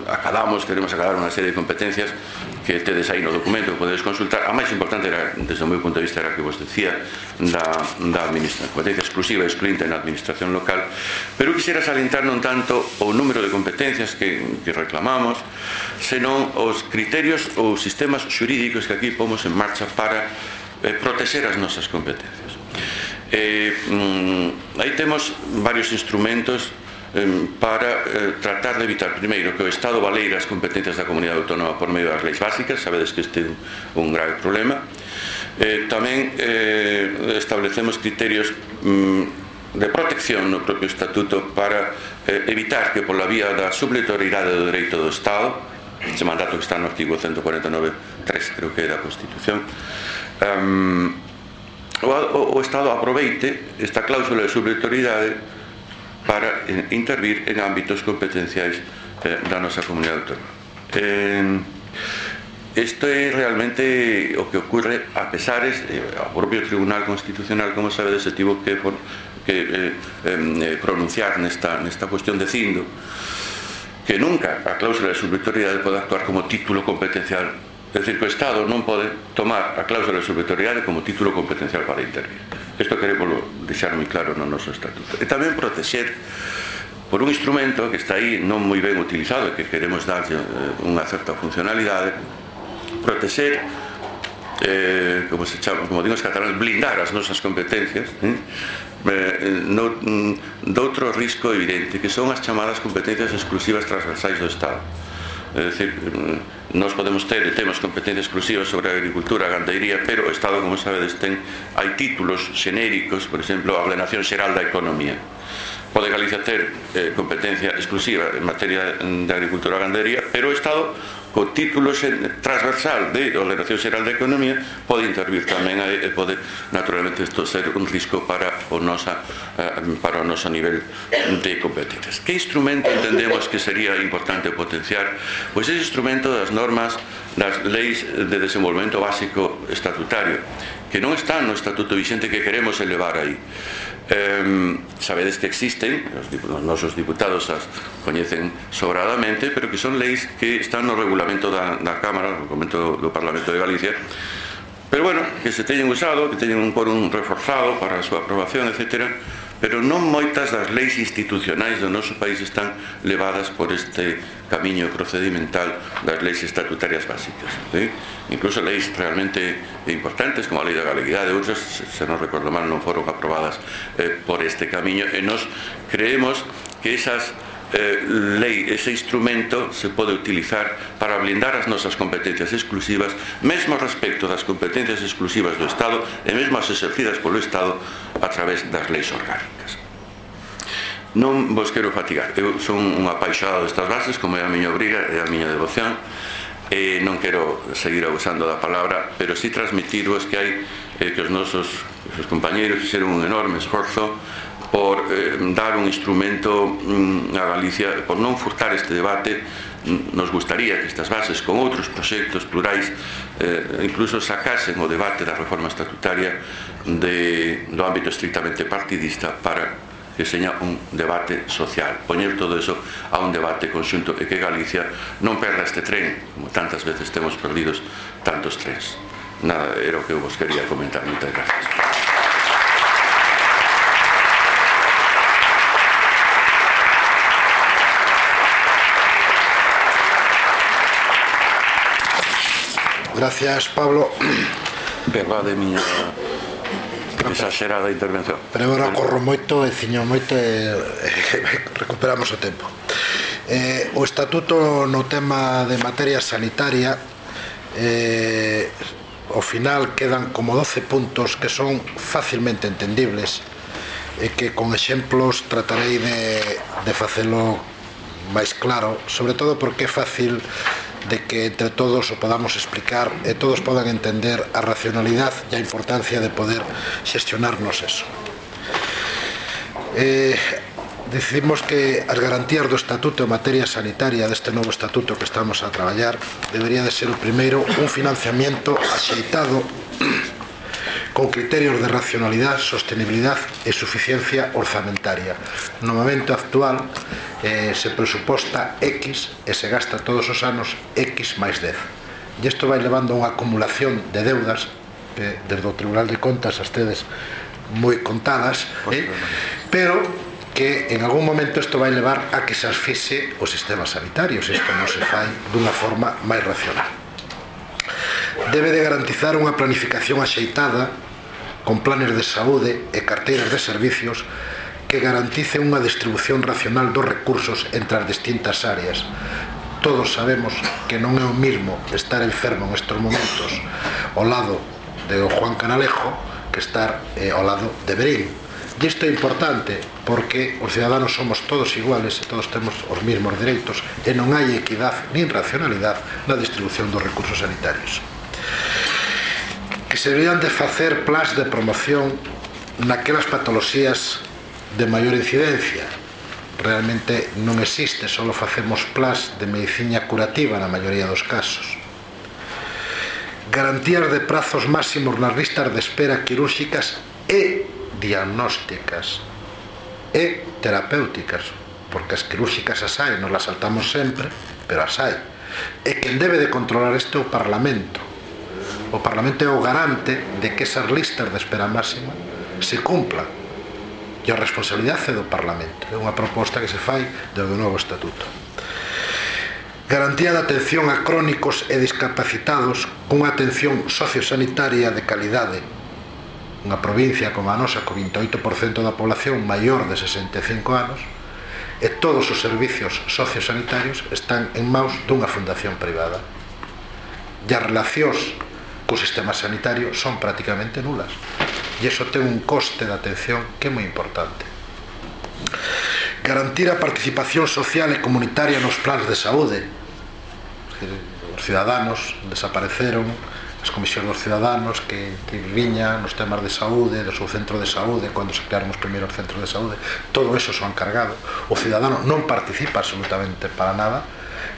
acadamos, queremos acadar unha serie de competencias que tedes aí no documento que podedes consultar. A máis importante era, desde o meu punto de vista, era que vos decía da, da administración, competencia exclusiva e excluinte na administración local, pero quixera salientar non tanto o número de competencias que, que reclamamos, senón os criterios ou sistemas xurídicos que aquí pomos en marcha para eh, proteger as nosas competencias. Eh, mm, aí temos varios instrumentos para eh, tratar de evitar, primeiro, que o Estado baleira as competencias da comunidade autónoma por medio das leis básicas. Sabedes que este é un, un grave problema. Eh, tamén eh, establecemos criterios mm, de protección no propio estatuto para eh, evitar que pola vía da subletoriedade do dereito do Estado, ese mandato que está no artigo ciento cuarenta e nove punto tres, creo que é da Constitución. um, o, o, o Estado aproveite esta cláusula de subsidiariedade para eh, intervir en ámbitos competenciais eh, da nosa comunidade autónoma. eh, Isto é realmente o que ocurre a pesares, eh, o propio Tribunal Constitucional, como sabedes, se tivo que, for, que eh, eh, pronunciar nesta, nesta cuestión dicindo que nunca a cláusula de subsidiariedade pode actuar como título competencial. É dicir, que o Estado non pode tomar a cláusula de subsidiariedade como título competencial para intervir. Isto queremos deixar moi claro no noso estatuto. E tamén protexer por un instrumento que está aí non moi ben utilizado e que queremos darlle unha certa funcionalidade, protexer, eh, como se chama, como digo os cataláns, blindar as nosas competencias eh, eh, no, de outro risco evidente, que son as chamadas competencias exclusivas transversais do Estado. É dicir, nós podemos ter e temos competencias exclusivas sobre a agricultura, a gandeiría, pero o Estado, como sabedes, ten, hai títulos xenéricos, por exemplo, a Ordenación Xeral da Economía. Pode Galicia ter eh, competencia exclusiva en materia de agricultura e gandería, pero o Estado, co título transversal de Ordenación Xeral da Economía, pode intervir tamén e pode, naturalmente, isto ser un risco para o nosa, eh, para o noso nivel de competencias. Que instrumento entendemos que sería importante potenciar? Pois ese instrumento das normas das leis de desenvolvemento básico estatutario, que non están no estatuto vixente, que queremos elevar aí. Eh, sabedes que existen, os, os nosos diputados as coñecen sobradamente, pero que son leis que están no regulamento da, da Cámara, no regulamento do Parlamento de Galicia, pero bueno, que se teñen usado, que teñen un quórum reforzado para a súa aprobación, etcétera, pero non moitas das leis institucionais do noso país están levadas por este camiño procedimental das leis estatutarias básicas, ¿sí? Incluso leis realmente importantes como a Lei da Galeguidade e outras, se non recordo mal, non foron aprobadas eh, por este camiño, e nos creemos que esas eh, lei, ese instrumento se pode utilizar para blindar as nosas competencias exclusivas, mesmo respecto das competencias exclusivas do Estado e mesmo as exercidas polo Estado a través das leis orgánicas. Non vos quero fatigar, eu son un apaixonado destas bases, como é a miña obriga e a miña devoción, e non quero seguir abusando da palabra, pero si transmitirvos que hai eh, que os nosos os compañeiros fixeron un enorme esforzo por eh, dar un instrumento mm, a Galicia, por non furtar este debate. Nos gustaría que estas bases, con outros proxectos plurais, eh, incluso sacasen o debate da reforma estatutaria de, do ámbito estrictamente partidista, para que seña un debate social, poñer todo eso a un debate conxunto e que Galicia non perda este tren, como tantas veces temos perdidos tantos trens. Nada, era o que eu vos quería comentar. Moitas gracias. Gracias, Pablo. Perdade miña exagerada intervención. Pero agora corro moito e ciño moito e recuperamos o tempo. Eh, o estatuto no tema de materia sanitaria, eh, ao final quedan como doce puntos que son facilmente entendibles e que con exemplos tratarei de, de facelo máis claro, sobre todo porque é fácil de que entre todos o podamos explicar e todos podan entender a racionalidade e a importancia de poder xestionarnos eso. Eh, decidimos que as garantías do estatuto en materia sanitaria deste novo estatuto que estamos a traballar debería de ser o primeiro un financiamiento axeitado con criterios de racionalidade, sostenibilidade e suficiencia orzamentaria. No momento actual eh, se presuposta X e se gasta todos os anos X máis dez. E isto vai levando a unha acumulación de deudas que desde o Tribunal de Contas as tedes moi contadas, eh? pero que en algún momento isto vai levar a que se asfixie o sistema sanitario, se isto non se fai dunha forma máis racional. Debe de garantizar unha planificación axeitada con planes de saúde e carteiras de servicios que garantice unha distribución racional dos recursos entre as distintas áreas. Todos sabemos que non é o mismo estar enfermo nestes momentos ao lado de Juan Canalejo que estar eh, ao lado de Berín. E isto é importante porque os ciudadanos somos todos iguales e todos temos os mesmos dereitos e non hai equidade nin racionalidade na distribución dos recursos sanitarios. Que se deberían de facer plans de promoción naquelas patoloxías de maior incidencia. Realmente non existe, só facemos plans de medicina curativa na maioría dos casos. Garantías de prazos máximos nas listas de espera quirúrxicas e diagnósticas e terapéuticas, porque as quirúrxicas as hai, nos las saltamos sempre, pero as hai. E quen debe de controlar isto é o Parlamento. O Parlamento é o garante de que esas listas de espera máxima se cumplan. E a responsabilidade é do Parlamento. É unha proposta que se fai desde o novo estatuto. Garantía de atención a crónicos e discapacitados cunha atención sociosanitaria de calidade. Unha provincia como a nosa, co vinte e oito por cento da población maior de sesenta e cinco anos, e todos os servicios sociosanitarios están en maus dunha fundación privada. E as relacións co sistema sanitario son prácticamente nulas. E iso ten un coste de atención que é moi importante. Garantir a participación social e comunitaria nos plans de saúde. Os ciudadanos desapareceron as comisións dos ciudadanos que, que viñan nos temas de saúde, do seu centro de saúde, cando se crearon os primeiros centros de saúde, todo eso son cargado. O ciudadano non participa absolutamente para nada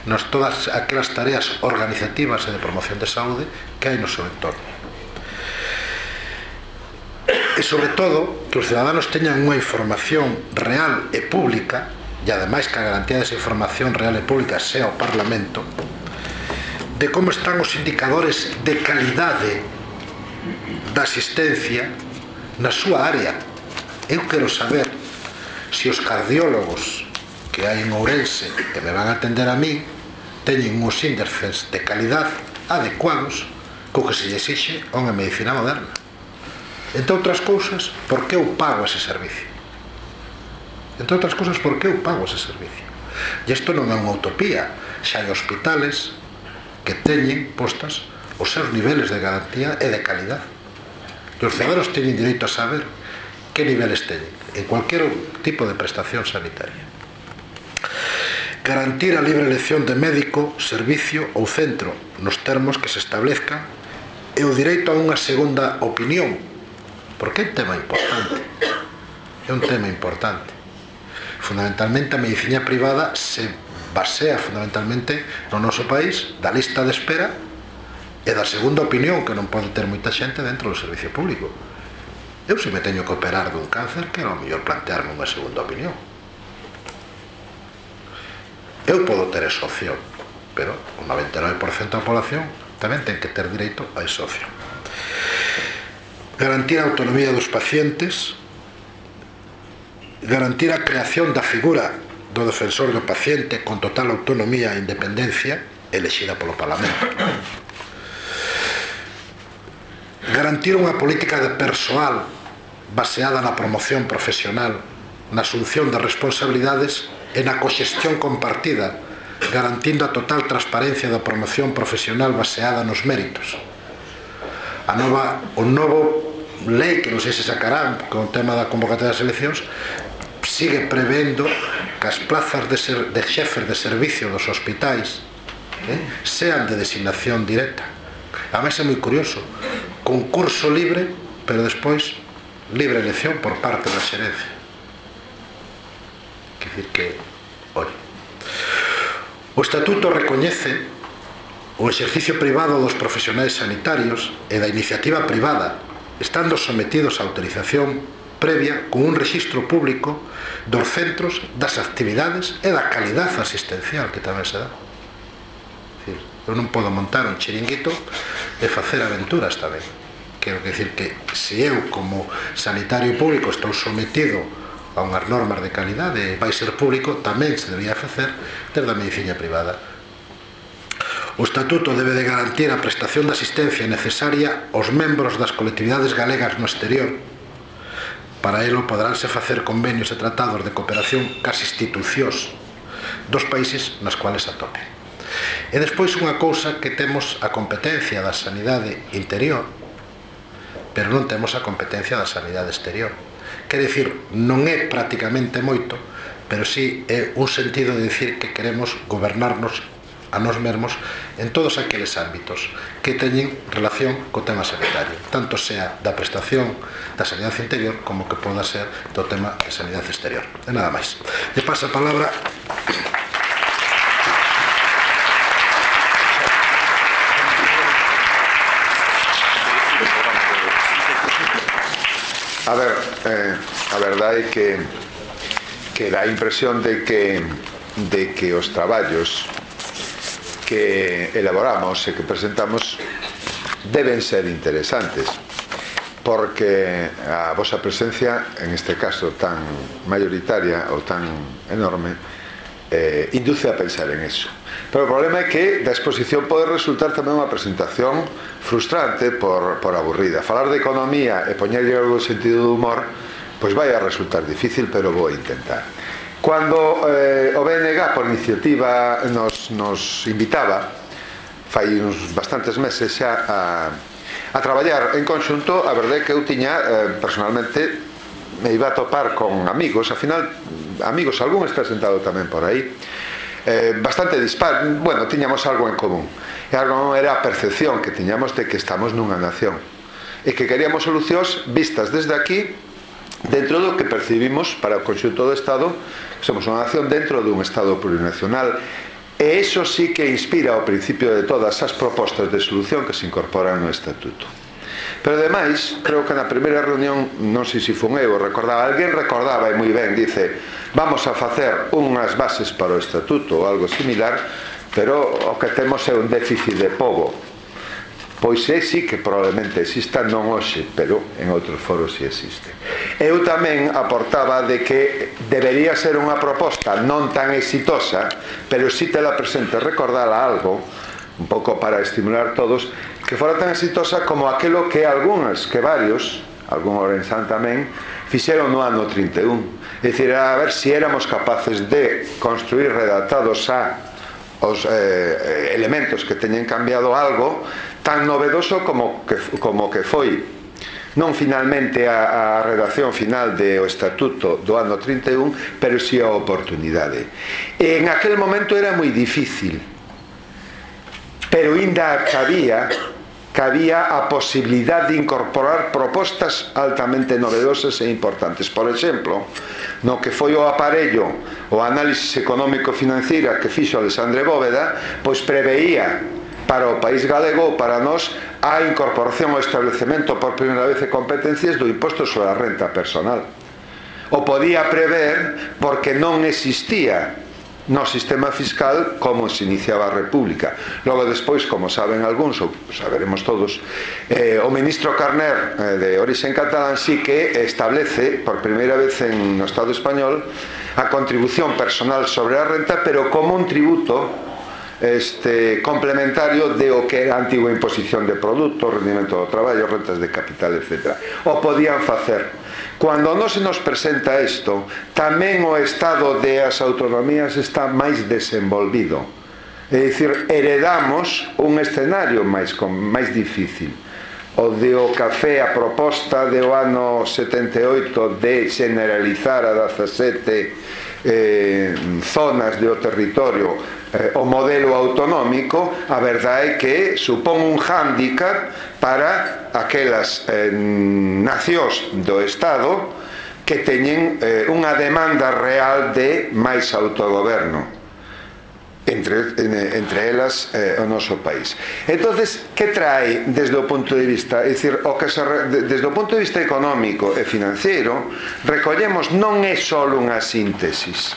nas todas aquelas tareas organizativas e de promoción de saúde que hai no seu entorno. E sobre todo que os ciudadanos teñan unha información real e pública, e ademais que a garantía desa información real e pública sea o Parlamento, de como están os indicadores de calidade da asistencia na súa área. Eu quero saber se os cardiólogos que hai en Ourense que me van a atender a mí teñen uns índices de calidade adecuados co que se lle exixe a unha medicina moderna. Entre outras cousas, por que eu pago ese servicio? Entre outras cousas, por que eu pago ese servicio? E isto non é unha utopía. Xa hai hospitales que teñen postas os seus niveles de garantía e de calidade. E os ciudadanos teñen direito a saber que niveles teñen en cualquier tipo de prestación sanitaria. Garantir a libre elección de médico, servicio ou centro nos termos que se establezcan e o direito a unha segunda opinión, porque é un tema importante. É un tema importante. Fundamentalmente a medicina privada se basea fundamentalmente no noso país da lista de espera e da segunda opinión que non pode ter moita xente dentro do servicio público. Eu se me teño que operar dun cáncer, quero ao mellor plantearme unha segunda opinión. Eu podo ter esa opción, pero o noventa e nove por cento da población tamén ten que ter direito a esa opción. Garantir a autonomía dos pacientes, garantir a creación da figura do defensor do paciente con total autonomía e independencia elexida polo Parlamento. Garantir unha política de persoal baseada na promoción profesional, na asunción de responsabilidades e na coxestión compartida, garantindo a total transparencia da promoción profesional baseada nos méritos. A nova, o novo lei, que non sei se sacarán con o tema da convocatoria das eleccións, sigue prevendo que as plazas de, ser, de xefes de servicio dos hospitais eh, sean de designación directa. A máis é moi curioso, concurso libre, pero despois libre elección por parte da xerencia. Quer dicir que, oi, o estatuto recoñece o exercicio privado dos profesionais sanitarios e da iniciativa privada, estando sometidos a autorización previa con un registro público dos centros, das actividades e da calidade asistencial que tamén se dá. Eu non podo montar un chiringuito e facer aventuras tamén. Quero decir que se eu como sanitario público estou sometido a unhas normas de calidade e vai ser público, tamén se debería facer desde a medicina privada. O estatuto debe de garantir a prestación de asistencia necesaria aos membros das colectividades galegas no exterior. Para elo poderánse facer convenios e tratados de cooperación cas institucións dos países nas cuales atopen. E despois unha cousa que temos a competencia da sanidade interior, pero non temos a competencia da sanidade exterior, quer dicir, non é prácticamente moito, pero sí é un sentido de dicir que queremos gobernarnos a nós mesmos en todos aqueles ámbitos que teñen relación co tema sanitario, tanto sea da prestación da sanidade interior como que poda ser do tema de sanidade exterior. E nada máis. E pasa a palabra A ver, eh, a verdade é que que dá a impresión de que de que os traballos que elaboramos e que presentamos deben ser interesantes, porque a vosa presencia, en este caso tan mayoritaria ou tan enorme, eh, induce a pensar en eso. Pero o problema é que da exposición pode resultar tamén unha presentación frustrante por, por aburrida. Falar de economía e poñerlle algo de sentido do humor, pois vai a resultar difícil, pero vou intentar. Cando eh, o B N G por iniciativa nos, nos invitaba fai uns bastantes meses xa a, a traballar en conxunto, a verdade é que eu tiña eh, personalmente me iba a topar con amigos, ao final amigos, algún está sentado tamén por aí, eh, bastante dispar, bueno, tiñamos algo en común, e algo era a percepción que tiñamos de que estamos nunha nación e que queríamos solucións vistas desde aquí dentro do que percibimos para o conxunto do Estado. Somos unha nación dentro dun Estado plurinacional, e iso sí que inspira o principio de todas as propostas de solución que se incorporan no Estatuto. Pero ademais, creo que na primeira reunión, non sei se fun eu, recordaba, alguén recordaba e moi ben, dice, vamos a facer unhas bases para o Estatuto ou algo similar, pero o que temos é un déficit de pobo. Pois é, sí que probablemente exista, non hoxe, pero en outros foros sí existe. Eu tamén aportaba de que debería ser unha proposta non tan exitosa, pero sí te la presente, recordala algo, un pouco para estimular todos, que fora tan exitosa como aquelo que algúns, que varios, algún orenzán tamén, fixeron no ano trinta e un. É dicir, a ver se éramos capaces de construir redactados a os eh, elementos que teñen cambiado algo tan novedoso como que, como que foi non finalmente a, a redacción final do Estatuto do ano trinta e un, pero si a oportunidade. E en aquel momento era moi difícil, pero ainda cabía cabía a posibilidade de incorporar propostas altamente novedosas e importantes. Por exemplo, no que foi o aparello, o análisis económico-financiera que fixo Alexandre Bóveda, pois preveía para o país galego ou para nós a incorporación ao establecemento por primeira vez de competencias do imposto sobre a renta personal. O podía prever porque non existía no sistema fiscal como se iniciaba a República. Logo despois, como saben algúns, ou saberemos todos, eh, o ministro Carner, eh, de origen catalán, sí que establece por primeira vez en no Estado español a contribución personal sobre a renta, pero como un tributo este, complementario de o que era a antigua imposición de produtos, rendimento do traballo, rentas de capital, etcétera. O podían facer. Cando non se nos presenta isto, tamén o estado de as autonomías está máis desenvolvido. É dicir, heredamos un escenario máis, máis difícil. O de o café, a proposta do ano setenta e oito de generalizar a dezasete eh, zonas do territorio eh, o modelo autonómico, a verdade é que supón un hándicap para aquelas eh, nacións do Estado que teñen eh, unha demanda real de máis autogoberno. Entre, entre elas eh, o noso país. Entonces, que trae desde o punto de vista, é dicir, o que se, desde o punto de vista económico e financiero, recollemos non é só unha síntesis.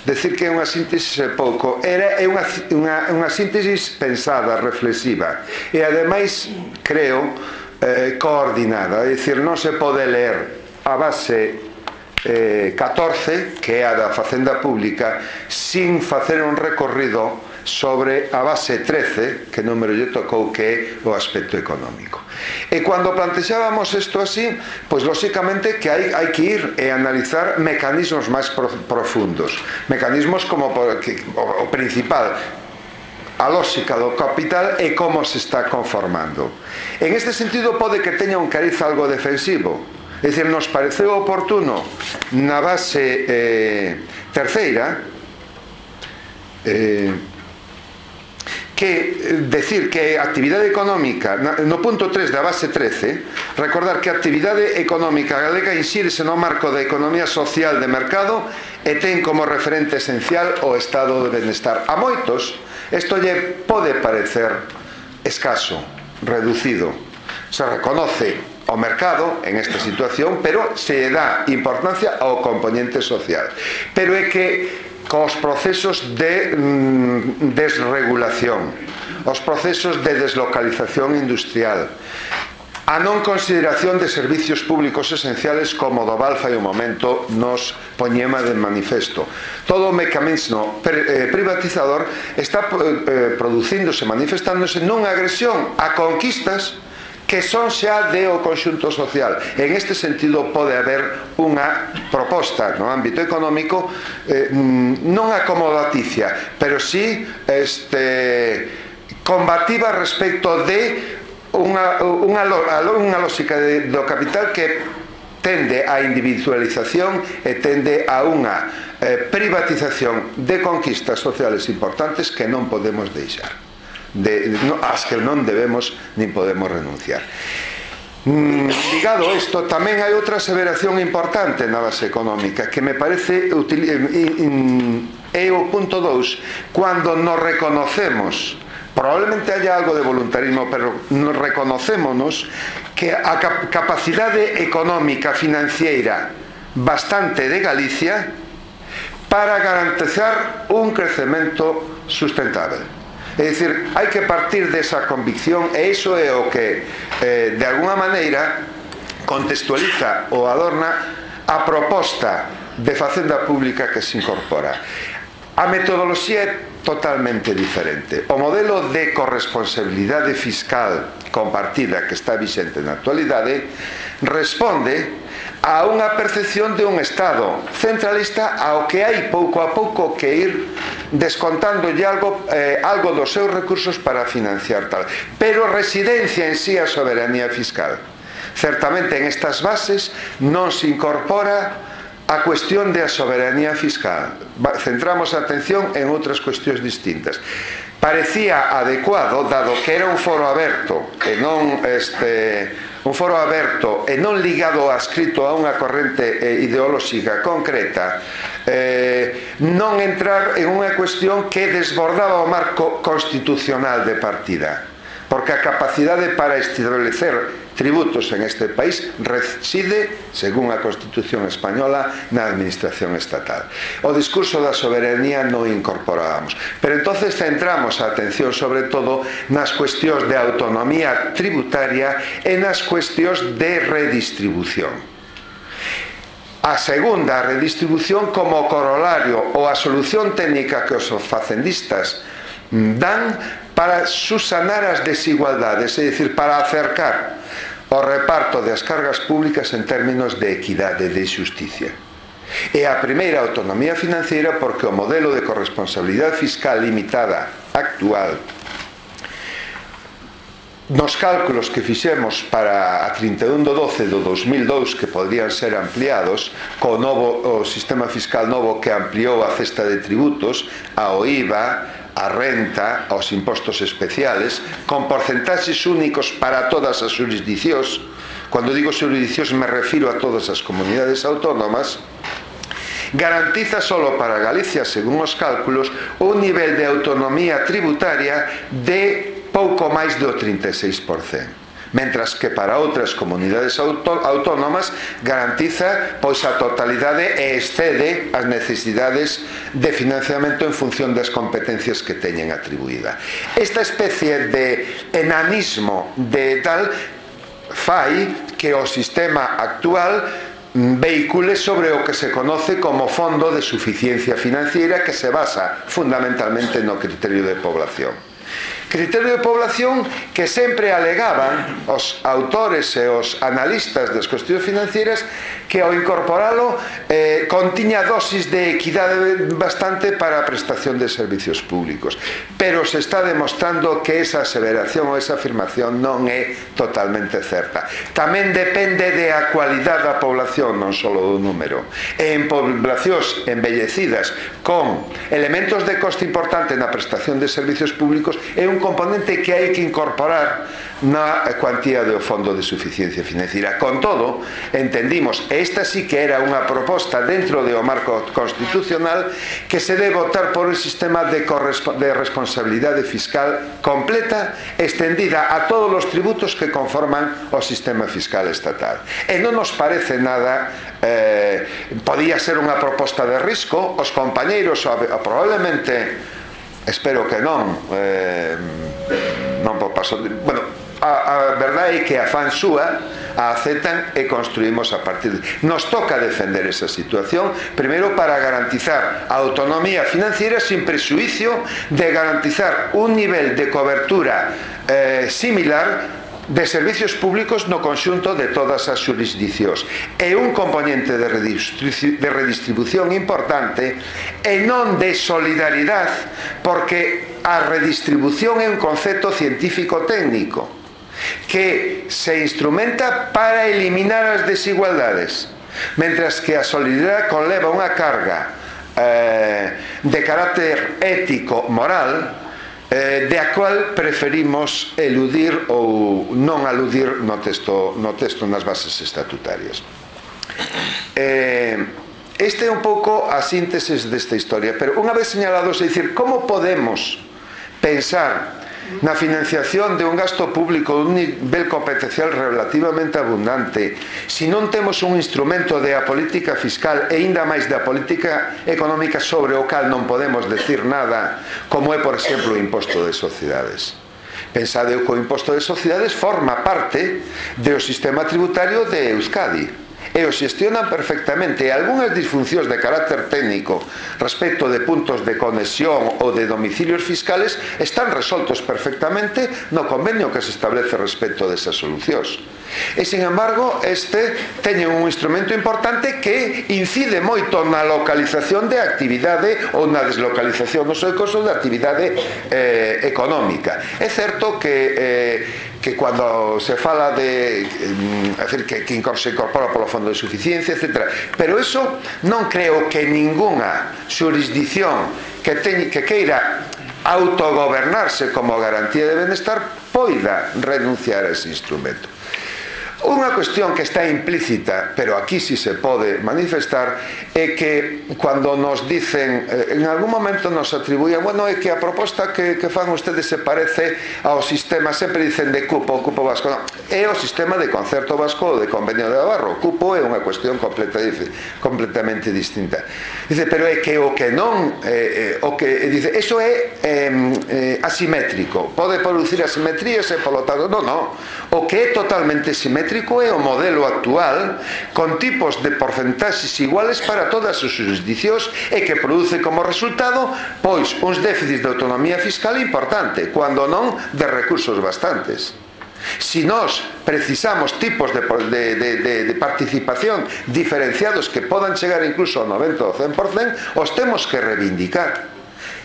Decir que é unha síntesis é pouco, era, é unha, unha, unha síntesis pensada, reflexiva e ademais, creo, eh, coordinada. É dicir, non se pode ler a base Eh, catorce, que é a da Facenda Pública, sin facer un recorrido sobre a base trece, que número lle tocou, que é o aspecto económico. E cando plantexábamos isto así, pois lóxicamente que hai, hai que ir e analizar mecanismos máis pro, profundos, mecanismos como que, o, o principal, a lógica do capital e como se está conformando. En este sentido pode que teña un cariz algo defensivo, É dicir, nos pareceu oportuno na base eh, terceira eh, que decir que a actividade económica no punto tres da base trece, recordar que a actividade económica galega insírese no marco da economía social de mercado e ten como referente esencial o estado de benestar. A moitos isto lle pode parecer escaso, reducido. Se reconoce o mercado en esta situación, pero se dá importancia ao componente social. Pero é que cos procesos de mm, desregulación, os procesos de deslocalización industrial, a non consideración de servicios públicos esenciales como do Val fai un momento nos poñema de manifesto. Todo o mecanismo privatizador está eh, producíndose, manifestándose nunha agresión a conquistas que son xa de o conxunto social. En este sentido pode haber unha proposta no ámbito económico eh, non acomodaticia, pero sí este, combativa respecto de unha, unha, unha lógica de, do capital que tende á individualización e tende a unha eh, privatización de conquistas sociales importantes que non podemos deixar. De, no, as que non debemos nin podemos renunciar. Mm, ligado a isto, tamén hai outra aseveración importante na base económica que me parece util, é o punto dous, cando nos reconocemos, probablemente haya algo de voluntarismo, pero nos reconocémonos que a cap capacidade económica financiera bastante de Galicia para garantizar un crecemento sustentable. É dicir, hai que partir desa convicción, e iso é o que eh, de alguna maneira contextualiza ou adorna a proposta de facenda pública que se incorpora. A metodoloxía é totalmente diferente. O modelo de corresponsabilidade fiscal compartida que está vixente na actualidade responde a unha percepción de un Estado centralista ao que hai pouco a pouco que ir descontándolle algo, eh, algo dos seus recursos para financiar tal. Pero residencia en sí a soberanía fiscal. Certamente en estas bases non se incorpora a cuestión de a soberanía fiscal. Centramos a atención en outras cuestións distintas. Parecía adecuado, dado que era un foro aberto e non este... un foro aberto e non ligado adscrito a unha corrente ideolóxica concreta, eh, non entrar en unha cuestión que desbordaba o marco constitucional de partida, porque a capacidade para establecer tributos en este país reside, según a Constitución española, na administración estatal. O discurso da soberanía non incorporábamos, pero entonces centramos a atención sobre todo nas cuestións de autonomía tributaria e nas cuestións de redistribución. A segunda, a redistribución como corolario ou a solución técnica que os facendistas dan para susanar as desigualdades, é dicir, para acercar o reparto das cargas públicas en términos de equidade, de xusticia. É a primeira autonomía financiera porque o modelo de corresponsabilidade fiscal limitada actual, nos cálculos que fixemos para a trinta e un de doce do dos mil dous, que podrían ser ampliados co novo, o sistema fiscal novo que ampliou a cesta de tributos, ao I V A, a renta, aos impostos especiales, con porcentaxes únicos para todas as jurisdiccións. Cando digo jurisdiccións me refiro a todas as comunidades autónomas. Garantiza solo para Galicia, según os cálculos, un nivel de autonomía tributaria de pouco máis do trinta e seis por cento, mentras que para outras comunidades autónomas garantiza pois a totalidade e excede as necesidades de financiamento en función das competencias que teñen atribuída. Esta especie de enanismo de tal fai que o sistema actual vehicule sobre o que se conoce como Fondo de Suficiencia Financiera, que se basa fundamentalmente no criterio de población. criterio de población que sempre alegaban os autores e os analistas das cuestións financieras que ao incorporalo eh, contiña dosis de equidade bastante para a prestación de servicios públicos, pero se está demostrando que esa aseveración ou esa afirmación non é totalmente certa. Tamén depende de a cualidade da población, non só do número. E en poblacións embellecidas con elementos de coste importante na prestación de servicios públicos é un componente que hai que incorporar na cuantía do Fondo de Suficiencia Financiera. Con todo, entendimos, e esta sí que era unha proposta dentro do marco constitucional, que se debe optar por un sistema de, de responsabilidade fiscal completa, extendida a todos os tributos que conforman o sistema fiscal estatal. E non nos parece nada, eh, podía ser unha proposta de risco, os compañeiros probablemente, espero que non, eh, non por paso de, bueno, a, a verdade é que a fan súa a aceptan e construímos a partir de... Nos toca defender esa situación, primeiro para garantizar a autonomía financiera sin presuicio de garantizar un nivel de cobertura eh, similar de servicios públicos no conxunto de todas as xurisdicións. É un componente de redistribución importante e non de solidaridade, porque a redistribución é un concepto científico técnico que se instrumenta para eliminar as desigualdades, mentras que a solidaridade conleva unha carga eh, de carácter ético, moral, eh, de a cual preferimos eludir ou non aludir no texto, no texto nas bases estatutarias. Eh, este é un pouco a síntesis desta historia, pero unha vez señalados, é dicir, como podemos pensar na financiación de un gasto público de un nivel competencial relativamente abundante se non temos un instrumento de a política fiscal e ainda máis da política económica sobre o cal non podemos decir nada, como é, por exemplo, o imposto de sociedades? Pensade que o imposto de sociedades forma parte do sistema tributario de Euskadi e o xestionan perfectamente, e algunhas disfuncións de carácter técnico respecto de puntos de conexión ou de domicilios fiscales están resoltos perfectamente no convenio que se establece respecto desas solucións. E, sin embargo, este teñe un instrumento importante que incide moito na localización de actividade ou na deslocalización no seu caso de actividade eh, económica. É certo que eh, que cando se fala de é dicir, que, que se incorpora polo Fondo de Suficiencia, etcétera, pero eso non creo que ningunha xurisdición que, teñ, que queira autogobernarse como garantía de benestar poida renunciar a ese instrumento. Unha cuestión que está implícita, pero aquí sí se pode manifestar, é que cando nos dicen, en algún momento nos atribuían, bueno, é que a proposta que, que fan ustedes se parece ao sistema, sempre dicen de cupo, o cupo vasco, non, é o sistema de concerto vasco ou de convenio de Navarro. O cupo é unha cuestión completa, completamente distinta. Dice, pero é que o que non, eh, o que dice, eso é eh, asimétrico, pode producir asimetrías e polo tanto, non, non, o que é totalmente simétrico é o modelo actual con tipos de porcentaxes iguales para todas as xurisdicións e que produce como resultado pois uns déficits de autonomía fiscal importante, cando non de recursos bastantes. Si nós precisamos tipos de, de, de, de, de participación diferenciados que podan chegar incluso ao noventa ou cen por cento, os temos que reivindicar.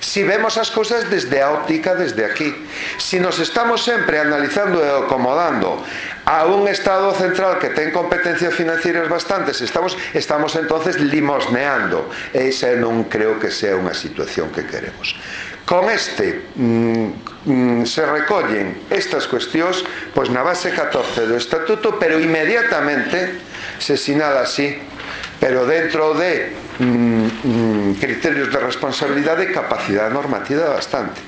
Si vemos as cousas desde a óptica, desde aquí, si nos estamos sempre analizando e acomodando a un Estado central que ten competencias financieras bastantes, estamos, estamos entonces limosneando. Esa non creo que sea unha situación que queremos. Con este mm, mm, se recollen estas cuestións pois na base catorce do Estatuto, pero inmediatamente se sinala así, pero dentro de mm, mm, criterios de responsabilidade e capacidade normativa bastante.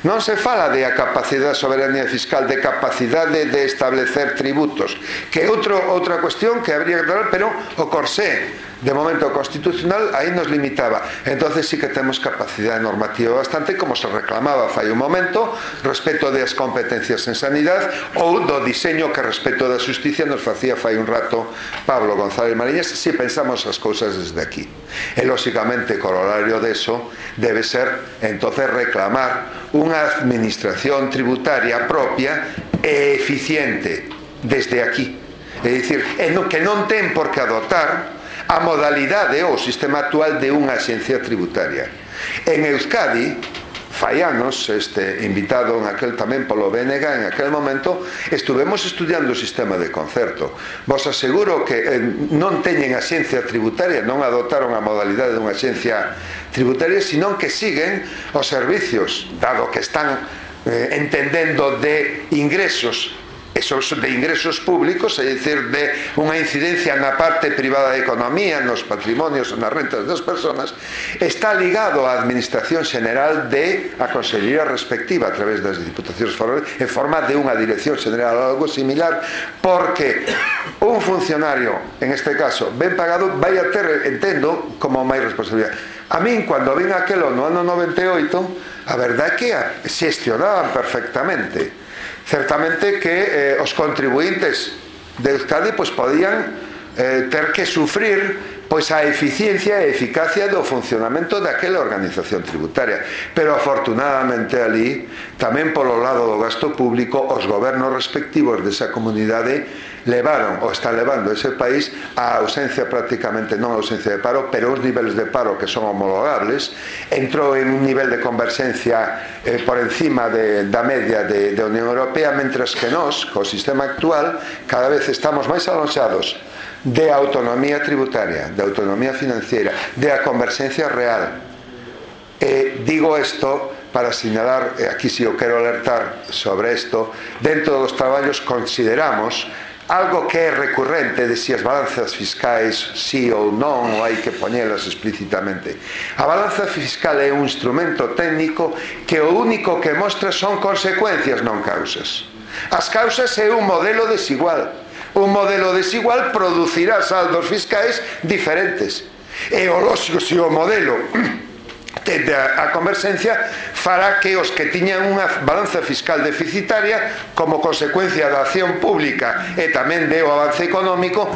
Non se fala de a capacidade de soberanía fiscal, de capacidade de establecer tributos, que é outro, outra cuestión que habría que tratar, pero o corsé De momento o Constitucional aí nos limitaba. Entonces sí que temos capacidade normativa bastante, como se reclamaba fai un momento, respecto das competencias en sanidade ou do diseño que respecto da justicia nos facía fai un rato Pablo González Mariñas, si pensamos as cousas desde aquí. E lóxicamente corolario deso debe ser entonces reclamar unha administración tributaria propia e eficiente desde aquí. É dicir, que non ten por que adoptar a modalidade ou o sistema actual de unha axencia tributaria. En Euskadi, fai anos, este, invitado en aquel tamén polo B N G, en aquel momento estuvemos estudiando o sistema de concerto. Vos aseguro que eh, non teñen axencia tributaria, non adoptaron a modalidade dunha axencia tributaria, sino que siguen os servicios, dado que están eh, entendendo de ingresos, esos de ingresos públicos, é dicir, de unha incidencia na parte privada da economía, nos patrimonios, nas rentas das persoas, está ligado á Administración Xeneral de a Consellería respectiva a través das Diputacións Forales en forma de unha Dirección Xeneral ou algo similar, porque un funcionario, en este caso, ben pagado, vai a ter, entendo, como máis responsabilidade. A min, cando vin aquelo no ano noventa e oito, a verdade é que xestionaban perfectamente. Certamente que eh, os contribuintes de Euskadi pois, podían eh, ter que sufrir pois, a eficiencia e eficacia do funcionamento daquela organización tributaria, pero afortunadamente ali tamén polo lado do gasto público os gobernos respectivos desa comunidade levaron ou están levando ese país a ausencia prácticamente, non a ausencia de paro, pero os niveles de paro que son homologables, entrou en un nivel de converxencia eh, por encima de, da media de, de Unión Europea, mentras que nós, co sistema actual, cada vez estamos máis alonxados de autonomía tributaria, de autonomía financiera, de a converxencia real. E digo isto para sinalar, e aquí si eu quero alertar sobre isto, dentro dos traballos consideramos algo que é recurrente de si as balanzas fiscais sí ou non, ou hai que poñelas explícitamente. A balanza fiscal é un instrumento técnico que o único que mostra son consecuencias, non causas. As causas é un modelo desigual. Un modelo desigual producirá saldos fiscais diferentes. E o lógico, se o modelo tende a converxencia, fará que os que tiñan unha balanza fiscal deficitaria como consecuencia da acción pública e tamén do avance económico,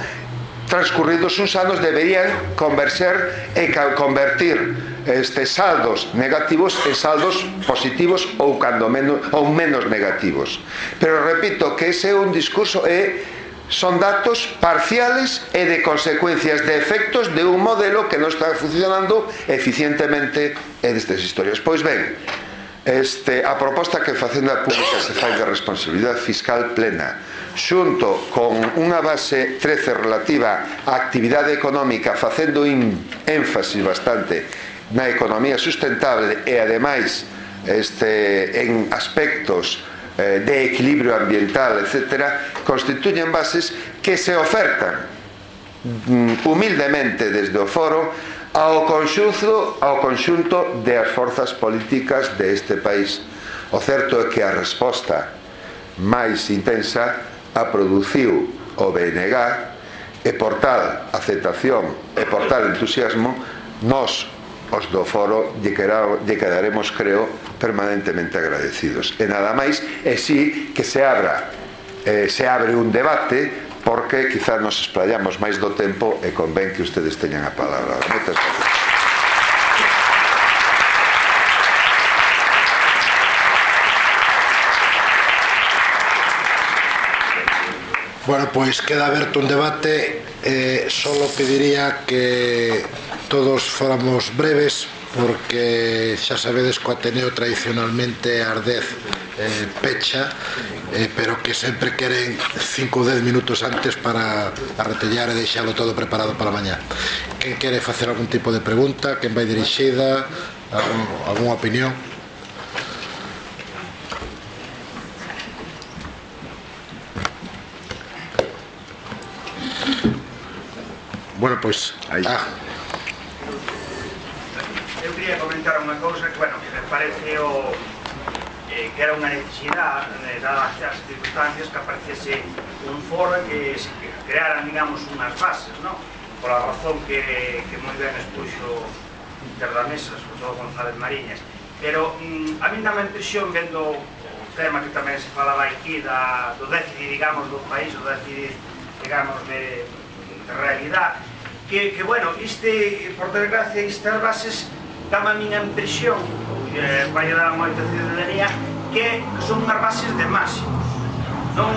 transcurridos uns anos deberían converxer e convertir estes saldos negativos en saldos positivos ou cando menos ou menos negativos. Pero repito que ese é un discurso e son datos parciales e de consecuencias de efectos de un modelo que non está funcionando eficientemente en estas historias. Pois ben, este, a proposta que Facenda Pública se fai de responsabilidade fiscal plena, xunto con unha base trece relativa á actividade económica, facendo un énfasis bastante na economía sustentable e ademais este, en aspectos de equilibrio ambiental, etcétera, constituyen bases que se ofertan humildemente desde o foro ao conxunto, ao conxunto de as forzas políticas deste país. O certo é que a resposta máis intensa a produciu o B N G e por tal aceptación e por tal entusiasmo nós, os do foro, lle quedaremos, creo, permanentemente agradecidos. E nada máis, e si que se abra eh, se abre un debate, porque quizás nos explayamos máis do tempo e convén que ustedes teñan a palabra. Moitas gracias. Bueno, pois queda aberto un debate. eh, Solo pediría que todos fóramos breves, porque xa sabedes que o Ateneo tradicionalmente ás dez eh, pecha, eh, pero que sempre queren cinco ou dez minutos antes para arretellar e deixalo todo preparado para mañá. Quen quere facer algún tipo de pregunta? Quen vai dirixida? Algún, algunha opinión? Bueno, pois aí. Ah. Eu quería comentar unha cousa que, bueno, que me parece o, eh, que era unha necesidade, eh, dadas as circunstancias, que aparecese un foro que se crearan, digamos, unhas bases, non? pola razón que, que moi ben expuxo Inter da Mesa, sobre todo González Mariñas. Pero mm, a mí dá a impresión, vendo o tema que tamén se falaba aquí da, do déficit, digamos, do país, o déficit, digamos, de, de realidad, que, que, bueno, este, por desgracia, estas bases dá-me a miña impresión, eh, vai dar moita ciudadanía, que son unhas bases de máximos. Non,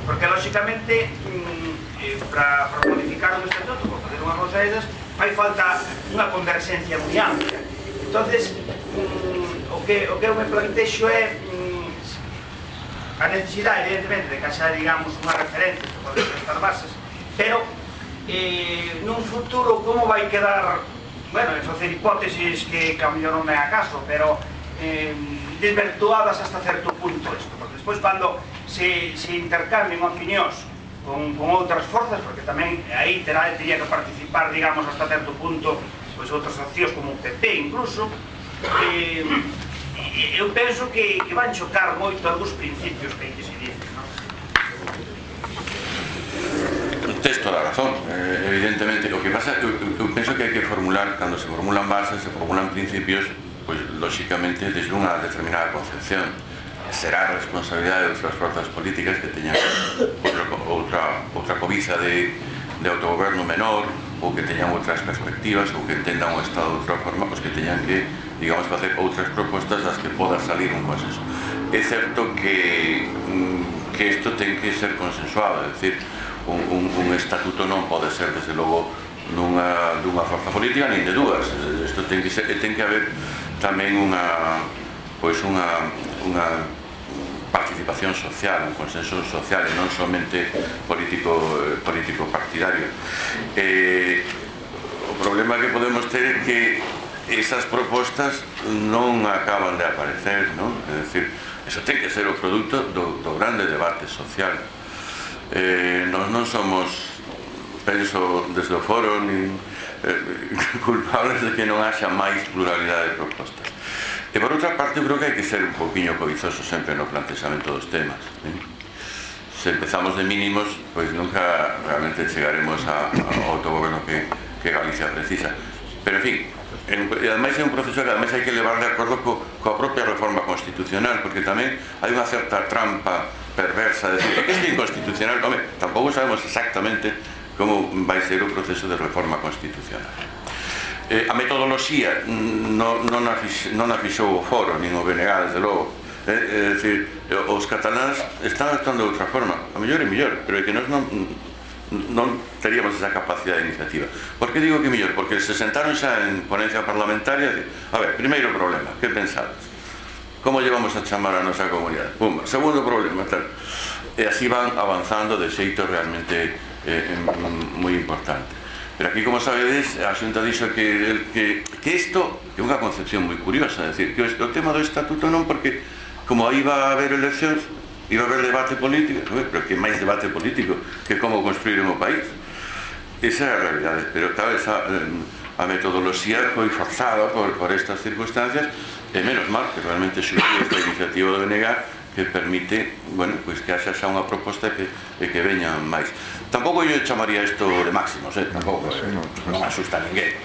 porque, lóxicamente, mm, eh, para, para modificar un estatuto, por facer unha cousa desas, fai falta unha converxencia moi ampla. Entonces, mm, o, que, o que eu me plantexo é mm, a necesidade, evidentemente, de que xa, digamos, unha referencia que pode ser estas bases, pero eh, nun futuro como vai quedar, bueno, en facer hipótesis que, que a mellor non me a caso, pero eh, desvirtuadas hasta certo punto isto, porque despois cando se, se intercambien opinións con, con outras forzas, porque tamén aí terá, teria que participar, digamos, hasta certo punto, pois outras accións como o P P incluso, eh, eu penso que, que van chocar moito algúns principios que hai que se dicen, non? Tes toda a razón, eh, evidentemente. O que pasa, eu, eu penso que hai que formular, cando se formulan bases, se formulan principios, pois, lóxicamente, desde unha determinada concepción. Será responsabilidade de outras forzas políticas que teñan outra, outra, outra cobiza de, de autogoberno menor, ou que teñan outras perspectivas, ou que entendan o Estado de outra forma, pois que teñan que, digamos, facer outras propostas das que poda salir un consenso. É certo que, que isto ten que ser consensuado, é dicir, un, un, un estatuto non pode ser, desde logo, nunha, dunha forza política, nin de dúas. Isto ten que ser, ten que haber tamén unha, pois unha, unha participación social, un consenso social e non somente político, político partidario. Eh, o problema que podemos ter é que esas propostas non acaban de aparecer, non? É dicir, eso ten que ser o produto do, do grande debate social. Eh, nós non somos, penso, desde o foro, nin, eh, culpables de que non haxa máis pluralidade de propostas. E por outra parte, creo que hai que ser un poquinho cobizoso sempre no plantexamento dos temas, eh? Se empezamos de mínimos, pois nunca realmente chegaremos a, ao autogoberno que, que Galicia precisa. Pero, en fin, en, e ademais é un proceso que ademais hai que levar de acordo co, coa propia reforma constitucional, porque tamén hai unha certa trampa perversa de decir que é inconstitucional. Home, tampouco sabemos exactamente como vai ser o proceso de reforma constitucional. Eh, a metodoloxía non, non, a fix, non a fixou o foro, nin o B N G, desde logo. Eh, é dicir, os cataláns están actuando de outra forma, a mellor e mellor, pero é que nós non, non teríamos esa capacidade de iniciativa. Por que digo que mellor? Porque se sentaron xa en ponencia parlamentaria e, a ver, primeiro problema, que pensades? Como llevamos a chamar a nosa comunidade? Pumba. Segundo problema, tal. E así van avanzando de xeito realmente eh, moi importante. Pero aquí, como sabedes, a Xunta dixo que, que, que isto é unha concepción moi curiosa, é dicir, que o tema do estatuto non, porque como aí va a haber eleccións, iba a haber debate político, pero que máis debate político que como construir un país. Esa é a realidade, pero tal vez a, a metodoloxía foi forzada por, por estas circunstancias, e menos mal que realmente xurdiu esta iniciativa do B N G que permite, bueno, pois que haxa xa unha proposta que, que veñan máis. Tampouco eu chamaría isto de máximos, eh? Tampouco, eh? Non asusta a ninguén.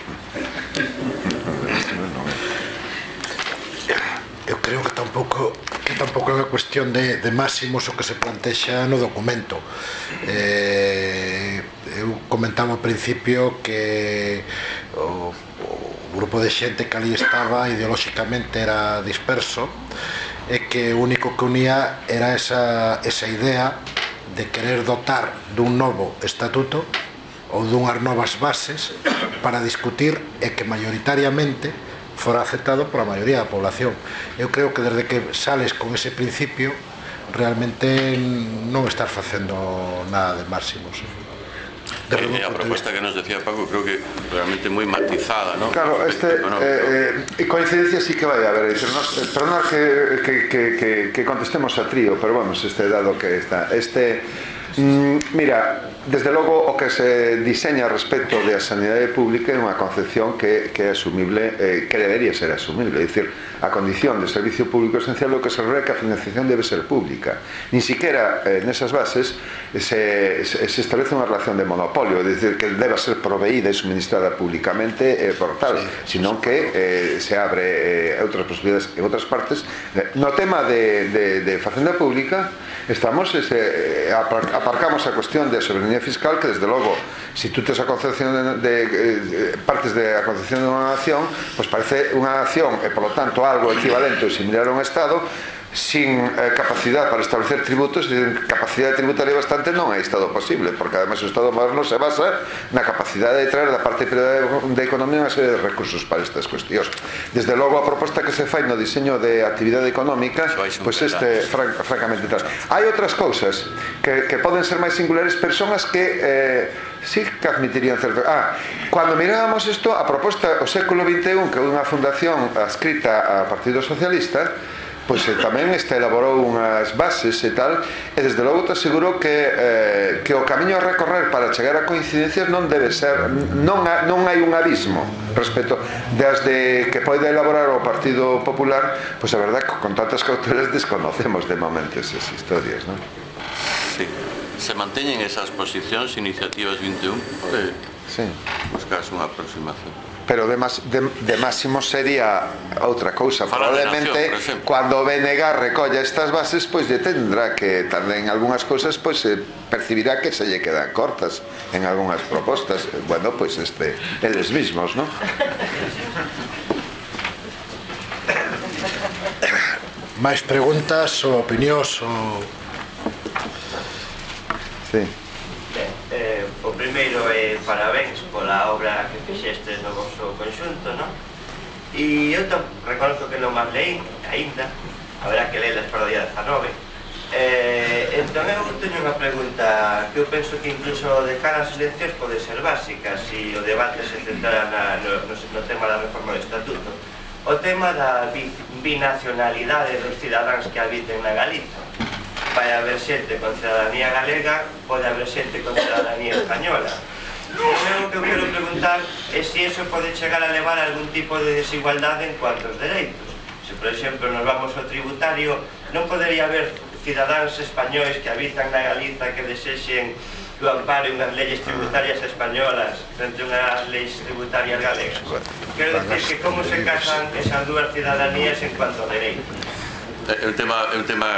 Eu creo que tampouco que tampouco é unha cuestión de, de máximos o que se plantexa no documento. Eh, eu comentaba ao principio que o, o grupo de xente que ali estaba ideolóxicamente era disperso e que o único que unía era esa, esa idea de querer dotar dun novo estatuto ou dunhas novas bases para discutir e que maioritariamente fora aceptado pola maioría da población. Eu creo que desde que sales con ese principio realmente non estás facendo nada de máximos. De eh, a proposta que nos decía Paco creo que realmente moi matizada, ¿no? Claro, este eh, eh, coincidencia sí que vai a haber. Perdona que, que, que, que, que contestemos a trío, pero vamos, este dado que está este Mm, mira, desde logo o que se diseña respecto da sanidade pública é unha concepción que, que é asumible, eh, que debería ser asumible, é dicir, a condición de servicio público esencial o que se reúne que a financiación debe ser pública. Ni siquiera eh, nesas bases se, se, se establece unha relación de monopolio, é dicir, que deba ser proveída e suministrada públicamente eh, por tal, sí, sino que eh, se abre eh, outras posibilidades en outras partes. No tema de, de, de facenda pública estamos ese, aparcamos a cuestión de soberanía fiscal, que desde logo, si tú tes a concepción de, de, de partes de a concepción de unha nación, pues parece unha nación e polo tanto algo equivalente ou similar a un Estado sin eh, capacidade para establecer tributos, e capacidade tributaria bastante non é Estado posible, porque además o Estado moderno se basa na capacidade de traer da parte privada da economía unha serie de recursos para estas cuestións. Desde logo a proposta que se fai no diseño de actividade económica, pois pues este fran francamente tal. Hai outras cousas que, que poden ser máis singulares, persoas que eh, sí que admitirían certo. Ah, cando mirábamos isto, a proposta o século vinte e un, que é unha fundación adscrita ao Partido Socialista, pois eh, tamén este elaborou unhas bases e tal, e desde logo te aseguro que, eh, que o camiño a recorrer para chegar a coincidencias non debe ser, non, ha, non hai un abismo respecto desde que pode elaborar o Partido Popular, pois a verdade que con tantas cautelas desconocemos de momento esas historias, non? Sí, se manteñen esas posicións, iniciativas vinte e un, pode sí. buscarse unha aproximación. Pero de, mas, de, de máximo sería outra cousa. Probablemente nación, cando o B N G recolla estas bases, pois lle tendrá que tamén algunhas cousas, pois se percibirá que se lle quedan cortas en algunhas propostas. Bueno, pois este eles mismos, non? máis preguntas ou opinións ou... Sí. Ben, eh, o primeiro é parabéns pola obra que fixeste no vosso conxunto, non? E eu to, reconozco que non máis leí aínda, haberá que lelas para o día dezanove. Eh, entón eu teño unha pregunta que eu penso que incluso de cara ás eleccións pode ser básica, se o debate se centrara na, no, no, no tema da reforma do estatuto. O tema da bi, binacionalidade dos cidadáns que habiten na Galiza. Vai haber xente con cidadanía galega, pode haber xente con cidadanía española. O que eu quero preguntar é se iso pode chegar a levar a algún tipo de desigualdade en cuanto aos dereitos. Se, por exemplo, nos vamos ao tributario, non podería haber cidadáns españois que habitan na Galiza que desexen que o ampare unhas leyes tributarias españolas frente a unhas leis tributarias galegas. Quero dicir que como se casan esas dúas cidadanías en cuanto a dereitos. É un tema, é un tema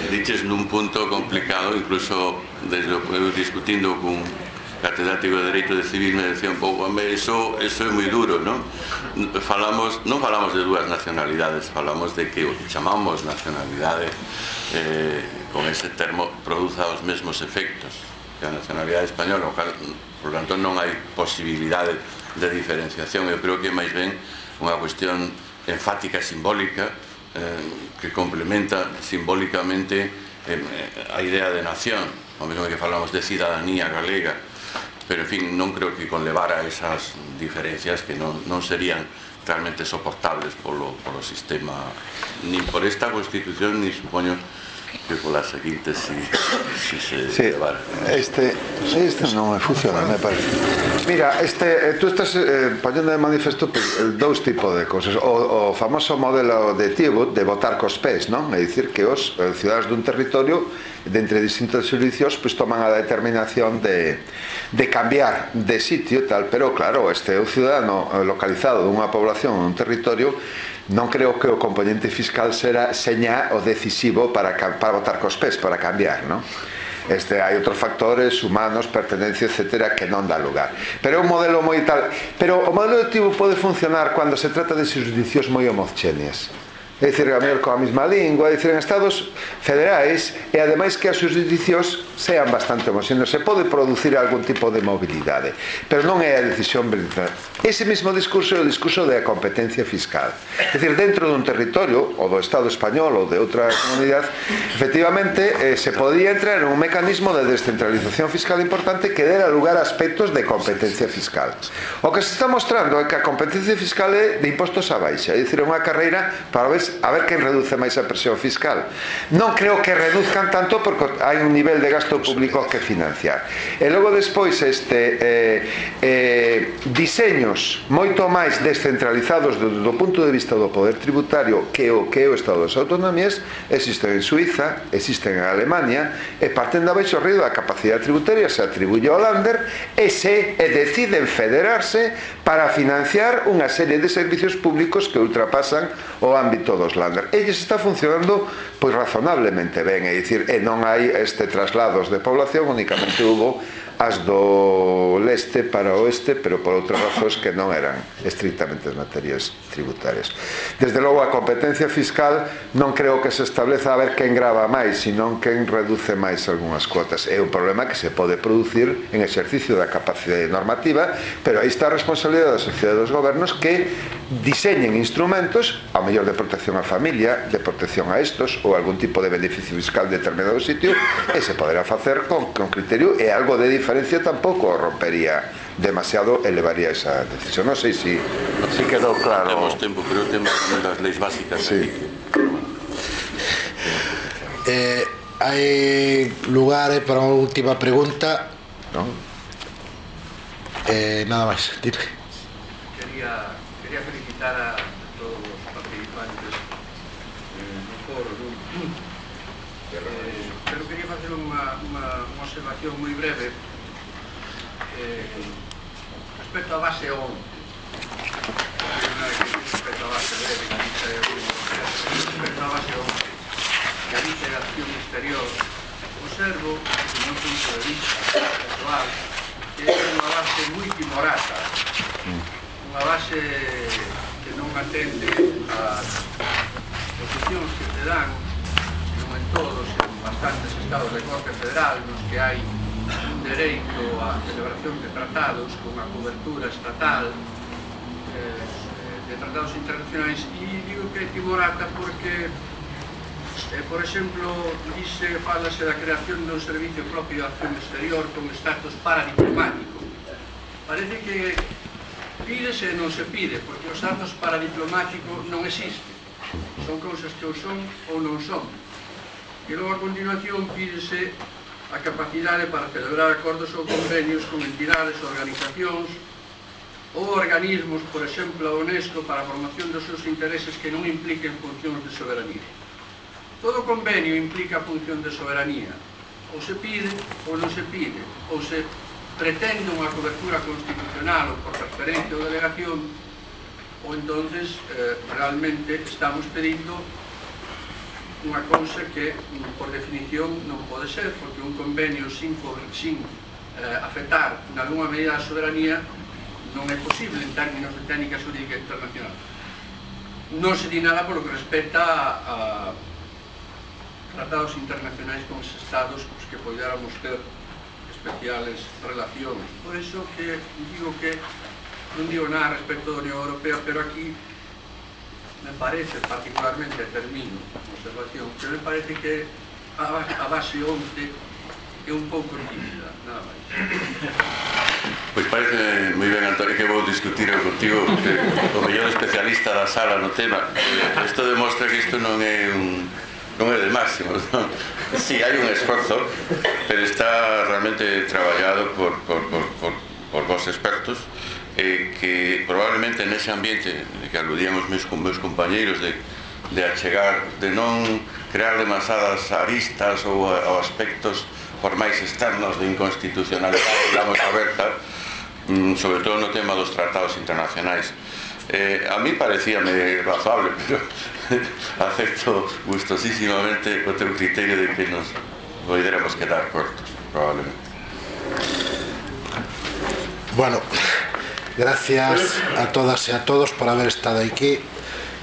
diches nun punto complicado, incluso desde o, eu discutindo cun catedrático de Dereito de Civil me decía un pouco, eso, eso é moi duro, non? Falamos, non falamos de dúas nacionalidades, falamos de que o que chamamos nacionalidade eh, con ese termo produza os mesmos efectos que a nacionalidade española, por tanto non hai posibilidade de diferenciación. Eu creo que máis ben unha cuestión enfática e simbólica Eh, que complementa simbólicamente eh, a idea de nación, o mesmo que falamos de cidadanía galega, pero en fin, non creo que conlevara esas diferencias que non, non serían realmente soportables polo, polo sistema, nin por esta Constitución, ni supoño que polas seguintes si, si se sí, levara. Este, este non me funciona, me parece. Mira, este, tú estás eh, poñendo de manifesto pues, dous tipos de cosas. O, o famoso modelo de Tibut de votar cos pés, non? É dicir que os eh, ciudadanos dun territorio de entre distintos servicios pues, toman a determinación de, de cambiar de sitio e tal, pero claro, este é un ciudadano localizado dunha población ou un territorio. Non creo que o componente fiscal será seña o decisivo para, para votar cos pés, para cambiar, non? Este, hai outros factores humanos, pertenencia, etcétera, que non dá lugar. Pero é un modelo moi tal. Pero o modelo electivo pode funcionar cando se trata de xurisdiccións moi homogéneas. É dicir, a mellor coa mesma lingua, é dicir, en estados federais, e ademais que as xurisdiccións sean bastante homogéneos. Se pode producir algún tipo de mobilidade, pero non é a decisión verificada. Ese mesmo discurso é o discurso da competencia fiscal. É dicir, dentro dun territorio, ou do Estado español, ou de outra comunidade, efectivamente, eh, se podía entrar en un mecanismo de descentralización fiscal importante que dera lugar a aspectos de competencia fiscal. O que se está mostrando é que a competencia fiscal é de impostos a baixa, é dicir, unha carreira para ver entonces a ver quen reduce máis a presión fiscal. Non creo que reduzcan tanto porque hai un nivel de gasto público que financiar. E logo despois este eh, eh, diseños moito máis descentralizados do, do punto de vista do poder tributario que o que é o Estado das Autonomías existen en Suiza, existen en Alemania e parten da baixo río da capacidade tributaria se atribuye ao Länder e se e deciden federarse para financiar unha serie de servicios públicos que ultrapasan o ámbito dos Länder. Elles está funcionando pois razonablemente ben, é dicir, e non hai este traslados de población, únicamente hubo as do leste para o oeste, pero por outras razóns que non eran estrictamente as materias tributarias. Desde logo a competencia fiscal non creo que se estableza a ver quen grava máis, sino quen reduce máis algunhas cuotas. É un problema que se pode producir en exercicio da capacidade normativa, pero aí está a responsabilidade da sociedade dos gobernos que diseñen instrumentos, ao mellor de protección á familia, de protección a estos, ou algún tipo de beneficio fiscal de determinado sitio, e se poderá facer con, con criterio, e algo de diferencia tampouco rompería demasiado, elevaría esa decisión. Non sei se si, si quedou claro. Temos tempo, pero temos das leis básicas. Sí. Eh, hai lugar para unha última pregunta, non? Eh, nada máis, dime. Quería, quería felicitar a todos os participantes eh, no foro, non? Eh, pero quería facer unha, unha, unha observación moi breve eh, respecto á base once. Respecto á base breve, respecto á base once, que a dice de acción exterior, observo, desde o meu punto de vista actual, que é unha base moi timorata, unha base que non atende ás posicións que se dan, non en todos, en bastantes estados de corte federal, nos que hai un dereito á celebración de tratados con a cobertura estatal eh, de tratados internacionais, e digo que é timorata porque Eh, por exemplo, dice, fálase da creación dun servicio propio de acción exterior con estatus paradiplomático. Parece que pídese e non se pide, porque o estatus paradiplomático non existe. Son cousas que ou son ou non son. E logo a continuación pídese a capacidade para celebrar acordos ou convenios con entidades, organizacións ou organismos, por exemplo, a UNESCO, para a promoción dos seus intereses que non impliquen funcións de soberanía. Todo convenio implica función de soberanía. Ou se pide ou non se pide. Ou se pretende unha cobertura constitucional ou por transferencia ou delegación, ou entonces eh, realmente estamos pedindo unha cousa que por definición non pode ser, porque un convenio sin, sin eh, afectar en alguma medida a soberanía non é posible en términos de técnica xurídica internacional. Non se di nada por lo que respecta a, a tratados internacionais con os estados cos que podéramos ter especiales relacións. Por iso que digo que non digo nada respecto da Unión Europea, pero aquí me parece, particularmente, termino a observación, que me parece que a, a base once é un pouco tímida, nada máis. Pois parece moi ben, Antonio, que vou discutir contigo, porque o mellor especialista da sala no tema. Isto demostra que isto non é un non é de máximos, non? Si, hai un esforzo, pero está realmente traballado por, por, por, por, por vos expertos, eh, que probablemente nese ambiente de que aludían os meus, meus compañeiros de, de achegar, de non crear demasiadas aristas ou, ou aspectos formais externos de inconstitucionalidade, digamos, aberta, sobre todo no tema dos tratados internacionais. Eh, a mí parecíame razonable, pero acepto gustosísimamente o teu criterio de que nos poderemos quedar cortos, probablemente. Bueno, gracias a todas e a todos por haber estado aquí.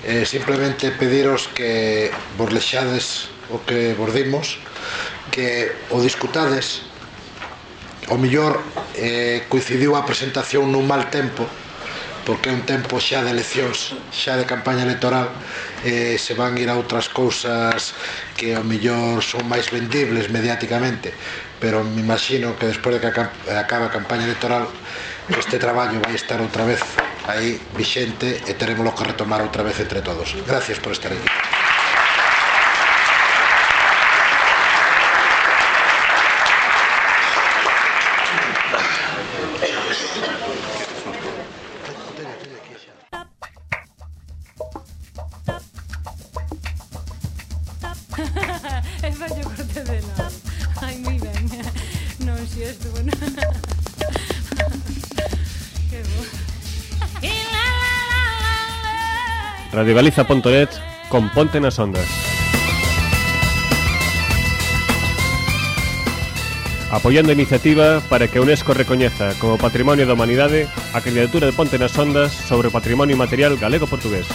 Eh, simplemente pediros que vos lexades o que vos dimos, que o discutades. O mellor eh, coincidiu a presentación nun mal tempo, porque é un tempo xa de eleccións, xa de campaña electoral, eh, se van ir a outras cousas que ao mellor son máis vendibles mediáticamente, pero me imagino que despois de que acabe a campaña electoral este traballo vai estar outra vez aí vixente e teremos que retomar outra vez entre todos. Gracias por estar aquí. E fallo corte de nada. Ai, moi ben. Non, si estuvo, non. Que bo. radiogaliza punto net con Ponte nas Ondas. Apoiando a iniciativa para que a UNESCO recoñeza como Patrimonio da Humanidade a candidatura de Ponte nas Ondas sobre o patrimonio material galego-portugués.